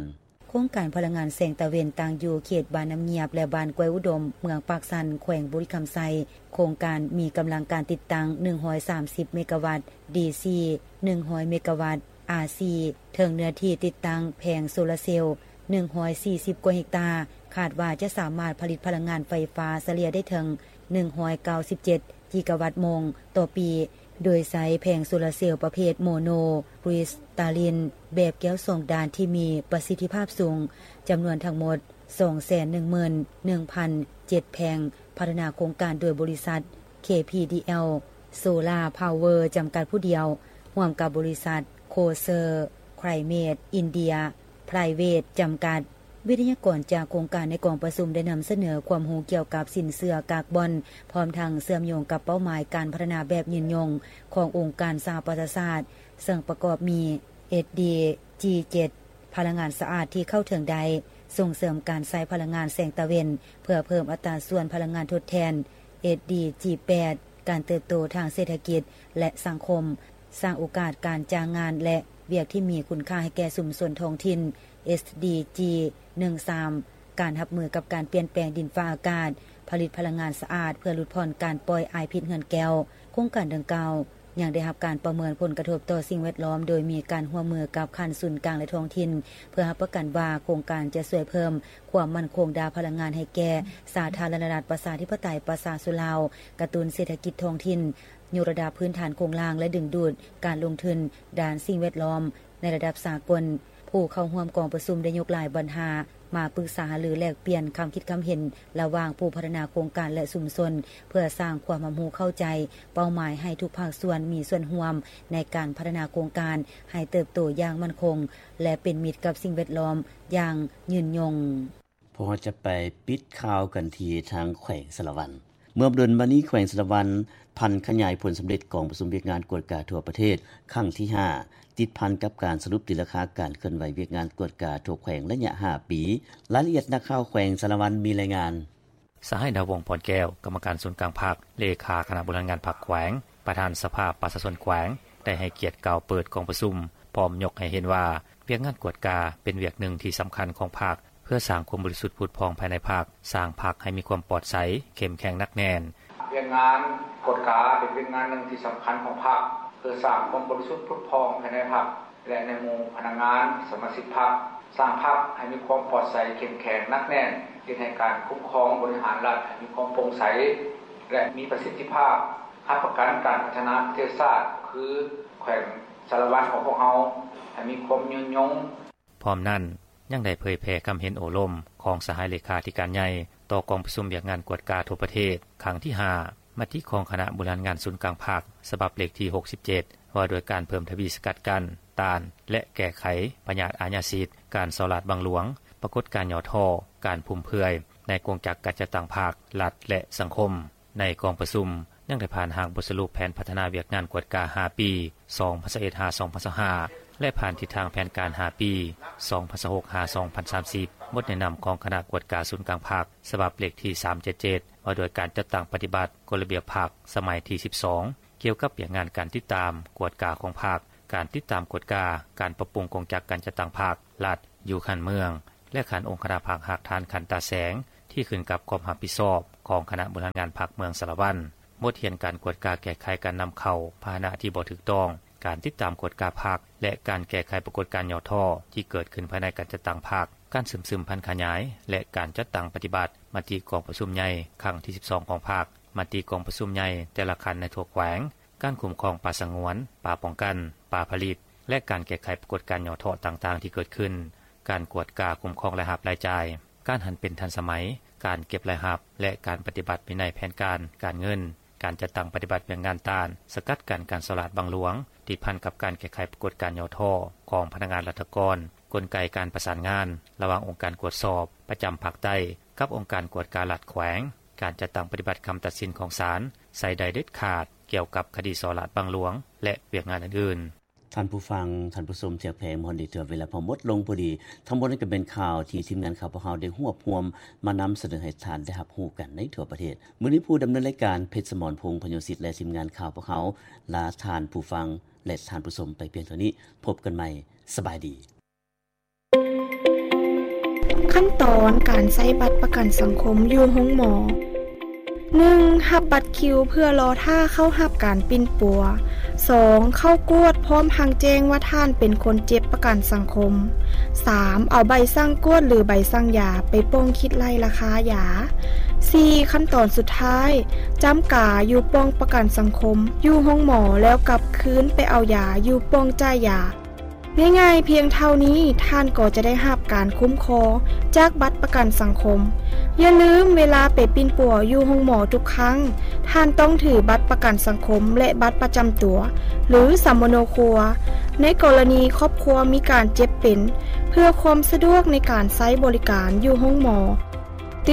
ໂຄງການພະລັງງານແສງຕາເວັນ ຕັ້ງຢູ່ເຂດບ້ານນ້ຳງຽບ ແລະ ບ້ານກ້ວຍອຸດົມ ເມືອງປາກຊັນ ແຂວງບໍລິຄຳໄຊ. ໂຄງການມີກຳລັງການຕິດຕັ້ງ ໜຶ່ງຮ້ອຍສາມສິບ ເມກາວັດ ດີຊີ ໜຶ່ງຮ້ອຍ ເມກາວັດ ອາຊີ ເຖິງເນື້ອທີ່ຕິດຕັ້ງແຜງໂຊລາເຊວ ໜຶ່ງຮ້ອຍສີ່ສິບ ກວ່າເຮັກຕາ, ຄາດວ່າຈະສາມາດຜະລິດພະລັງງານໄຟຟ້າສະເລ່ຍໄດ້ເຖິງ ໜຶ່ງຮ້ອຍເກົ້າສິບເຈັດ ກິກາວັດໂມງຕໍ່ປີ, ໂດຍໃຊ້ແຜງໂຊລາເຊວປະເພດໂມໂນຄຣິສຕາລິນ ແບບແກ້ວສອງດ້ານທີ່ມີປະສິດທິພາບສູງ, ຈຳນວນທັງໝົດ ສອງແສນໜຶ່ງໝື່ນໜຶ່ງພັນເຈັດແຜງ, ພັດທະນາໂຄງການໂດຍບໍລິສັດ ເຄ ພີ ດີ ແອລ ໂຊລາ ພາວເວີ ຈຳກັດຜູ້ດຽວ, ຮ່ວມກັບບໍລິສັດ ໂຄເຊີ ໄຄລເມດ ອິນເດຍ ໄພຣເວດ ຈຳກັດ. ວິທະຍາກອນຈາກໂຄງການໃນກອງປະຊຸມໄດ້ນຳສະເໜີຄວາມຮູ້ກ່ຽວກັບສິນເຊື່ອກາກບອນ, ພ້ອມທັງເຊື່ອມໂຍງກັບເປົ້າໝາຍການພັດທະນາແບບຍືນຍົງຂອງອົງການສະຫະປະຊາຊາດ, ເຊິ່ງປະກອບມີ ເອສ ດີ ຈີ ເຈັດ ພະລັງງານສະອາດທີ່ເຂົ້າເຖິງໄດ້, ສົ່ງເສີມການໃຊ້ພະລັງງານແສງຕາເວັນ ເພື່ອເພີ່ມອັດຕາສ່ວນພະລັງງານທົດແທນ, ເອສ ດີ ຈີ ແປດ ການເຕີບໂຕທາງເສດຖະກິດ ແລະ ສັງຄົມ, ສ້າງໂອກາດການຈ້າງງານ ແລະ ວຽກທີ່ມີຄຸນຄ່າໃຫ້ແກ່ຊຸມຊົນທ້ອງຖິ່ນ, ເອສ ດີ ຈີ ໜຶ່ງສາມ ການຮັບມືກັບການປ່ຽນແປງດິນຟ້າອາກາດ, ຜະລິດພະລັງງານສະອາດເພື່ອຫຼຸດຜ່ອນການປ່ອຍອາຍພິດເຮືອນແກ້ວ. ໂຄງການດັ່ງກ່າວ ຍັງໄດ້ຮັບການປະເມີນຜົນກະທົບຕໍ່ສິ່ງແວດລ້ອມ ໂດຍມີການຮ່ວມມືກັບຂັ້ນສູນກາງ ແລະ ທ້ອງຖິ່ນ ເພື່ອຮັບປະກັນວ່າໂຄງການຈະຊ່ວຍເພີ່ມຄວາມໝັ້ນຄົງດ້ານພະລັງງານໃຫ້ແກ່ສາທາລະນະລັດປະຊາທິປະໄຕປະຊາຊົນລາວ, ກະຕຸ້ນເສດຖະກິດທ້ອງຖິ່ນ, ຍົກລະດັບພື້ນຖານໂຄງລ່າງ ແລະ ດຶງດູດການລົງທຶນດ້ານສິ່ງແວດລ້ອມໃນລະດັບສາກົນ. ຜູ້ເຂົ້າຮ່ວມກອງປະຊຸມໄດ້ຍົກຫຼາຍບັນຫາ ມາປຶກສາຫາລືແລກປ່ຽນຄຳຄິດຄຳເຫັນລະຫວ່າງຜູ້ພັດທະນາໂຄງການ ແລະ ຊຸມຊົນ ເພື່ອສ້າງຄວາມຮັບຮູ້ເຂົ້າໃຈເປົ້າໝາຍໃຫ້ທຸກພາກສ່ວນມີສ່ວນຮ່ວມໃນການພັດທະນາໂຄງການໃຫ້ເຕີບໂຕຢ່າງໝັ້ນຄົງ ແລະ ເປັນມິດກັບສິ່ງແວດລ້ອມຢ່າງຍືນຍົງ. ພວກເຮົາຈະໄປປິດຂ່າວກັນທີ່ທາງແຂວງສາລະວັນ. ເມື່ອບໍ່ດົນມານີ້ແຂວງສາລະວັນຜັນຂະຫຍາຍຜົນສຳເລັດກອງປະຊຸມວຽກງານກວດກາທົ່ວປະເທດຄັ້ງທີຫ້າ ຕິດພັນກັບການສະຫຼຸບຕີລາຄາການເຄື່ອນໄຫວວຽກງານກວດກາທົ່ວແຂວງໄລຍະຫ້າປີ. ລາຍລະອຽດນັກຂ່າວແຂວງສາລະວັນມີລາຍງານ. ສະຫາຍ ດາວົງ ພອນແກ້ວ ກຳມະການສູນກາງພັກ, ເລຂາຄະນະບໍລິຫານງານພັກແຂວງ, ປະທານສະພາປະຊາຊົນແຂວງ ໄດ້ໃຫ້ກຽດກ່າວເປີດກອງປະຊຸມ, ພ້ອມຍົກໃຫ້ເຫັນວ່າວຽກງານກວດກາເປັນວຽກໜຶ່ງທີ່ສຳຄັນຂອງພັກ ເພື່ອສ້າງຄວາມບໍລິສຸດຜຸດຜ່ອງພາຍໃນພັກ, ສ້າງພັກໃຫ້ມີຄວາມປອດໃສ, ເຂັ້ມແຂງໜັກແໜ້ນ. ວຽກງານກວດກາເປັນວຽກງານໜຶ່ງທີ່ສຳຄັນຂອງພັກ ເພື່ອສ້າງຄວາມບໍລິສຸດຜຸດຜ່ອງພາຍໃນພັກ ແລະ ໃນໝູ່ພະນັກງານສະມາຊິກພັກ, ສ້າງພັກໃຫ້ມີຄວາມປອດໃສ, ເຂັ້ມແຂງ, ໜັກແໜ້ນ, ເຮັດໃຫ້ການຄຸ້ມຄອງບໍລິຫານລັດໃຫ້ມີຄວາມໂປ່ງໃສ ແລະ ມີປະສິດທິພາບ, ຮັບປະກັນການພັດທະນາປະເທດຊາດ ຄືແຂວງສາລະວັນຂອງພວກເຮົາ ໃຫ້ມີຄວາມຍືນຍົງ. ພ້ອມນັ້ນ ຍັງໄດ້ເຜີຍແຜ່ຄຳເຫັນໂອ້ລົມຂອງສະຫາຍເລຂາທິການໃຫຍ່ຕໍ່ກອງປະຊຸມວຽກງານກວດກາທົ່ວປະເທດຄັ້ງທີຫ້າ ມະຕິຂອງຄະນະບໍລິຫານງານສູນກາງພັກ ສະບັບເລກທີຫົກສິບເຈັດ ວ່າດ້ວຍການເພີ່ມທະວີສະກັດກັ້ນ, ຕ້ານ ແລະ ແກ້ໄຂພະຍາດອາຍາສິດ, ການສໍ້ລາດບັງຫຼວງ, ປາກົດການຫຍໍ້ທໍ້, ການຟຸມເຟືອຍໃນກົງຈັກການຈັດຕັ້ງພັກ, ລັດ ແລະ ສັງຄົມ. ໃນກອງປະຊຸມຍັງໄດ້ຜ່ານຮ່າງບົດສະຫຼຸບແຜນພັດທະນາວຽກງານກວດກາຫ້າປີ ສອງພັນຊາວເອັດ ຫາ ສອງພັນຊາວຫ້າ ແລະ ຜ່ານທິດທາງແຜນການຫ້າປີ ສອງພັນຊາວຫົກ ຫາ ສອງພັນສາມສິບ, ບົດແນະນຳຂອງຄະນະກວດກາສູນກາງພັກ ສະບັບເລກທີສາມເຈັດເຈັດ ວ່າດ້ວຍການຈັດຕັ້ງປະຕິບັດກົດລະບຽບພັກສະໄໝທີສິບສອງ ກ່ຽວກັບວຽກງານການຕິດຕາມກວດກາຂອງພັກ, ການຕິດຕາມກວດກາການປັບປຸງກົງຈັກການຈັດຕັ້ງພັກ, ລັດ ຢູ່ຂັ້ນເມືອງ ແລະ ຂັ້ນອົງຄະນະພັກຮາກຖານຂັ້ນຕາແສງ ທີ່ຂຶ້ນກັບຄວາມຮັບຜິດຊອບຂອງຄະນະບໍລິຫານງານພັກເມືອງສາລະວັນ, ບົດຮຽນການກວດກາແກ້ໄຂການນຳເຂົ້າພາຫະນະທີ່ບໍ່ຖືກຕ້ອງ, ການຕິດຕາມກວດກາພັກ ແລະ ການແກ້ໄຂປາກົດການຫຍໍ້ທໍ້ທີ່ເກີດຂຶ້ນພາຍໃນການຈັດຕັ້ງພັກ, ການເຊື່ອມຊຶມຜັນຂະຫຍາຍ ແລະ ການຈັດຕັ້ງປະຕິບັດມະຕິກອງປະຊຸມໃຫຍ່ຄັ້ງທີສິບສອງຂອງພັກ, ມະຕິກອງປະຊຸມໃຫຍ່ແຕ່ລະຂັ້ນໃນທົ່ວແຂວງ, ການຄຸ້ມຄອງປ່າສະຫງວນ, ປ່າປ້ອງກັນ, ປ່າຜະລິດ ແລະ ການແກ້ໄຂປາກົດການຫຍໍ້ທໍ້ຕ່າງໆທີ່ເກີດຂຶ້ນ, ການກວດກາຄຸ້ມຄອງລາຍຮັບລາຍຈ່າຍ, ການຫັນເປັນທັນສະໄໝ, ການເກັບລາຍຮັບ ແລະ ການປະຕິບັດວິໄນແຜນການການເງິນ, ການຈັດຕັ້ງປະຕິບັດວຽກງານຕ້ານສະກັດກັ້ນການສໍ້ລາດບັງຫຼວງ, ຕິດພັນກັບການແກ້ໄຂປາກົດການຫຍໍ້ທໍ້ຂອງພະນັກງານລັດຖະກອນ, ກົນໄກການປະສານງານລະຫວ່າງອົງການກວດສອບປະຈຳພາກໃຕ້ກັບອົງການກວດກາລັດແຂວງ, ການຈັດຕັ້ງປະຕິບັດຄຳຕັດສິນຂອງສານ ໃສ່ໄດ້ເດັດຂາດ ກ່ຽວກັບຄະດີສໍ້ລາດບັງຫຼວງ ແລະ ວຽກງານອື່ນໆ. ທ່ານຜູ້ຟັງ, ທ່ານຜູ້ຊົມທີ່ຮັກແພງ, ມາຮອດນີ້ຖືວ່າເວລາພວກເຮົາໝົດລົງພໍດີ. ທັງໝົດນັ້ນກໍເປັນຂ່າວທີ່ທີມງານຂ່າວພວກເຮົາໄດ້ຮວບຮວມມານຳສະເໜີໃຫ້ທ່ານໄດ້ຮັບຮູ້ກັນໃນທົ່ວປະເທດ. ມື້ນີ້ຜູ້ດຳເນີນລາຍການ ເພັດສະໝອນ ພົງພະໂຍສິດ ແລະ ທີມງານຂ່າວພວກເຮົາ ລາທ່ານຜູ້ຟັງ ແລະ ທ່ານຜູ້ຊົມໄປພຽງເທົ່ານີ້. ພົບກັນໃໝ່. ສະບາຍດີ. ຂັ້ນຕອນການໃຊ້ບັດປະກັນສັງຄົມຢູ່ໂຮງໝໍ. ໜຶ່ງ ຮັບບັດຄິວເພື່ອລໍຖ້າເຂົ້າຮັບການປິ່ນປົວ. ສອງ ເຂົ້າກວດພ້ອມທັງແຈ້ງວ່າທ່ານເປັນຄົນເຈັບປະກັນສັງຄົມ. ສາມ ເອົາໃບສັ່ງກວດ ຫຼື ໃບສັ່ງຢາໄປປ່ອງຄິດໄລ່ລາຄາຢາ. ສີ່ ຂັ້ນຕອນສຸດທ້າຍ ຈ້ຳກາຢູ່ປ່ອງປະກັນສັງຄົມຢູ່ໂຮງໝໍ ແລ້ວກັບຄືນໄປເອົາຢາຢູ່ປ່ອງຈ່າຍຢາ. ງ່າຍໆພຽງເທົ່ານີ້ ທ່ານກໍຈະໄດ້ຮັບການຄຸ້ມຄອງຈາກບັດປະກັນສັງຄົມ. ຢ່າລືມ, ເວລາໄປປິ່ນປົວຢູ່ໂຮງໝໍທຸກຄັ້ງ, ທ່ານຕ້ອງຖືບັດປະກັນສັງຄົມ ແລະ ບັດປະຈຳຕົວ ຫຼື ສຳມະໂນຄົວ ໃນກໍລະນີຄອບຄົວມີການເຈັບເປັນ, ເພື່ອຄວາມສະດວກໃນການໃຊ້ບໍລິການຢູ່ໂຮງໝໍ.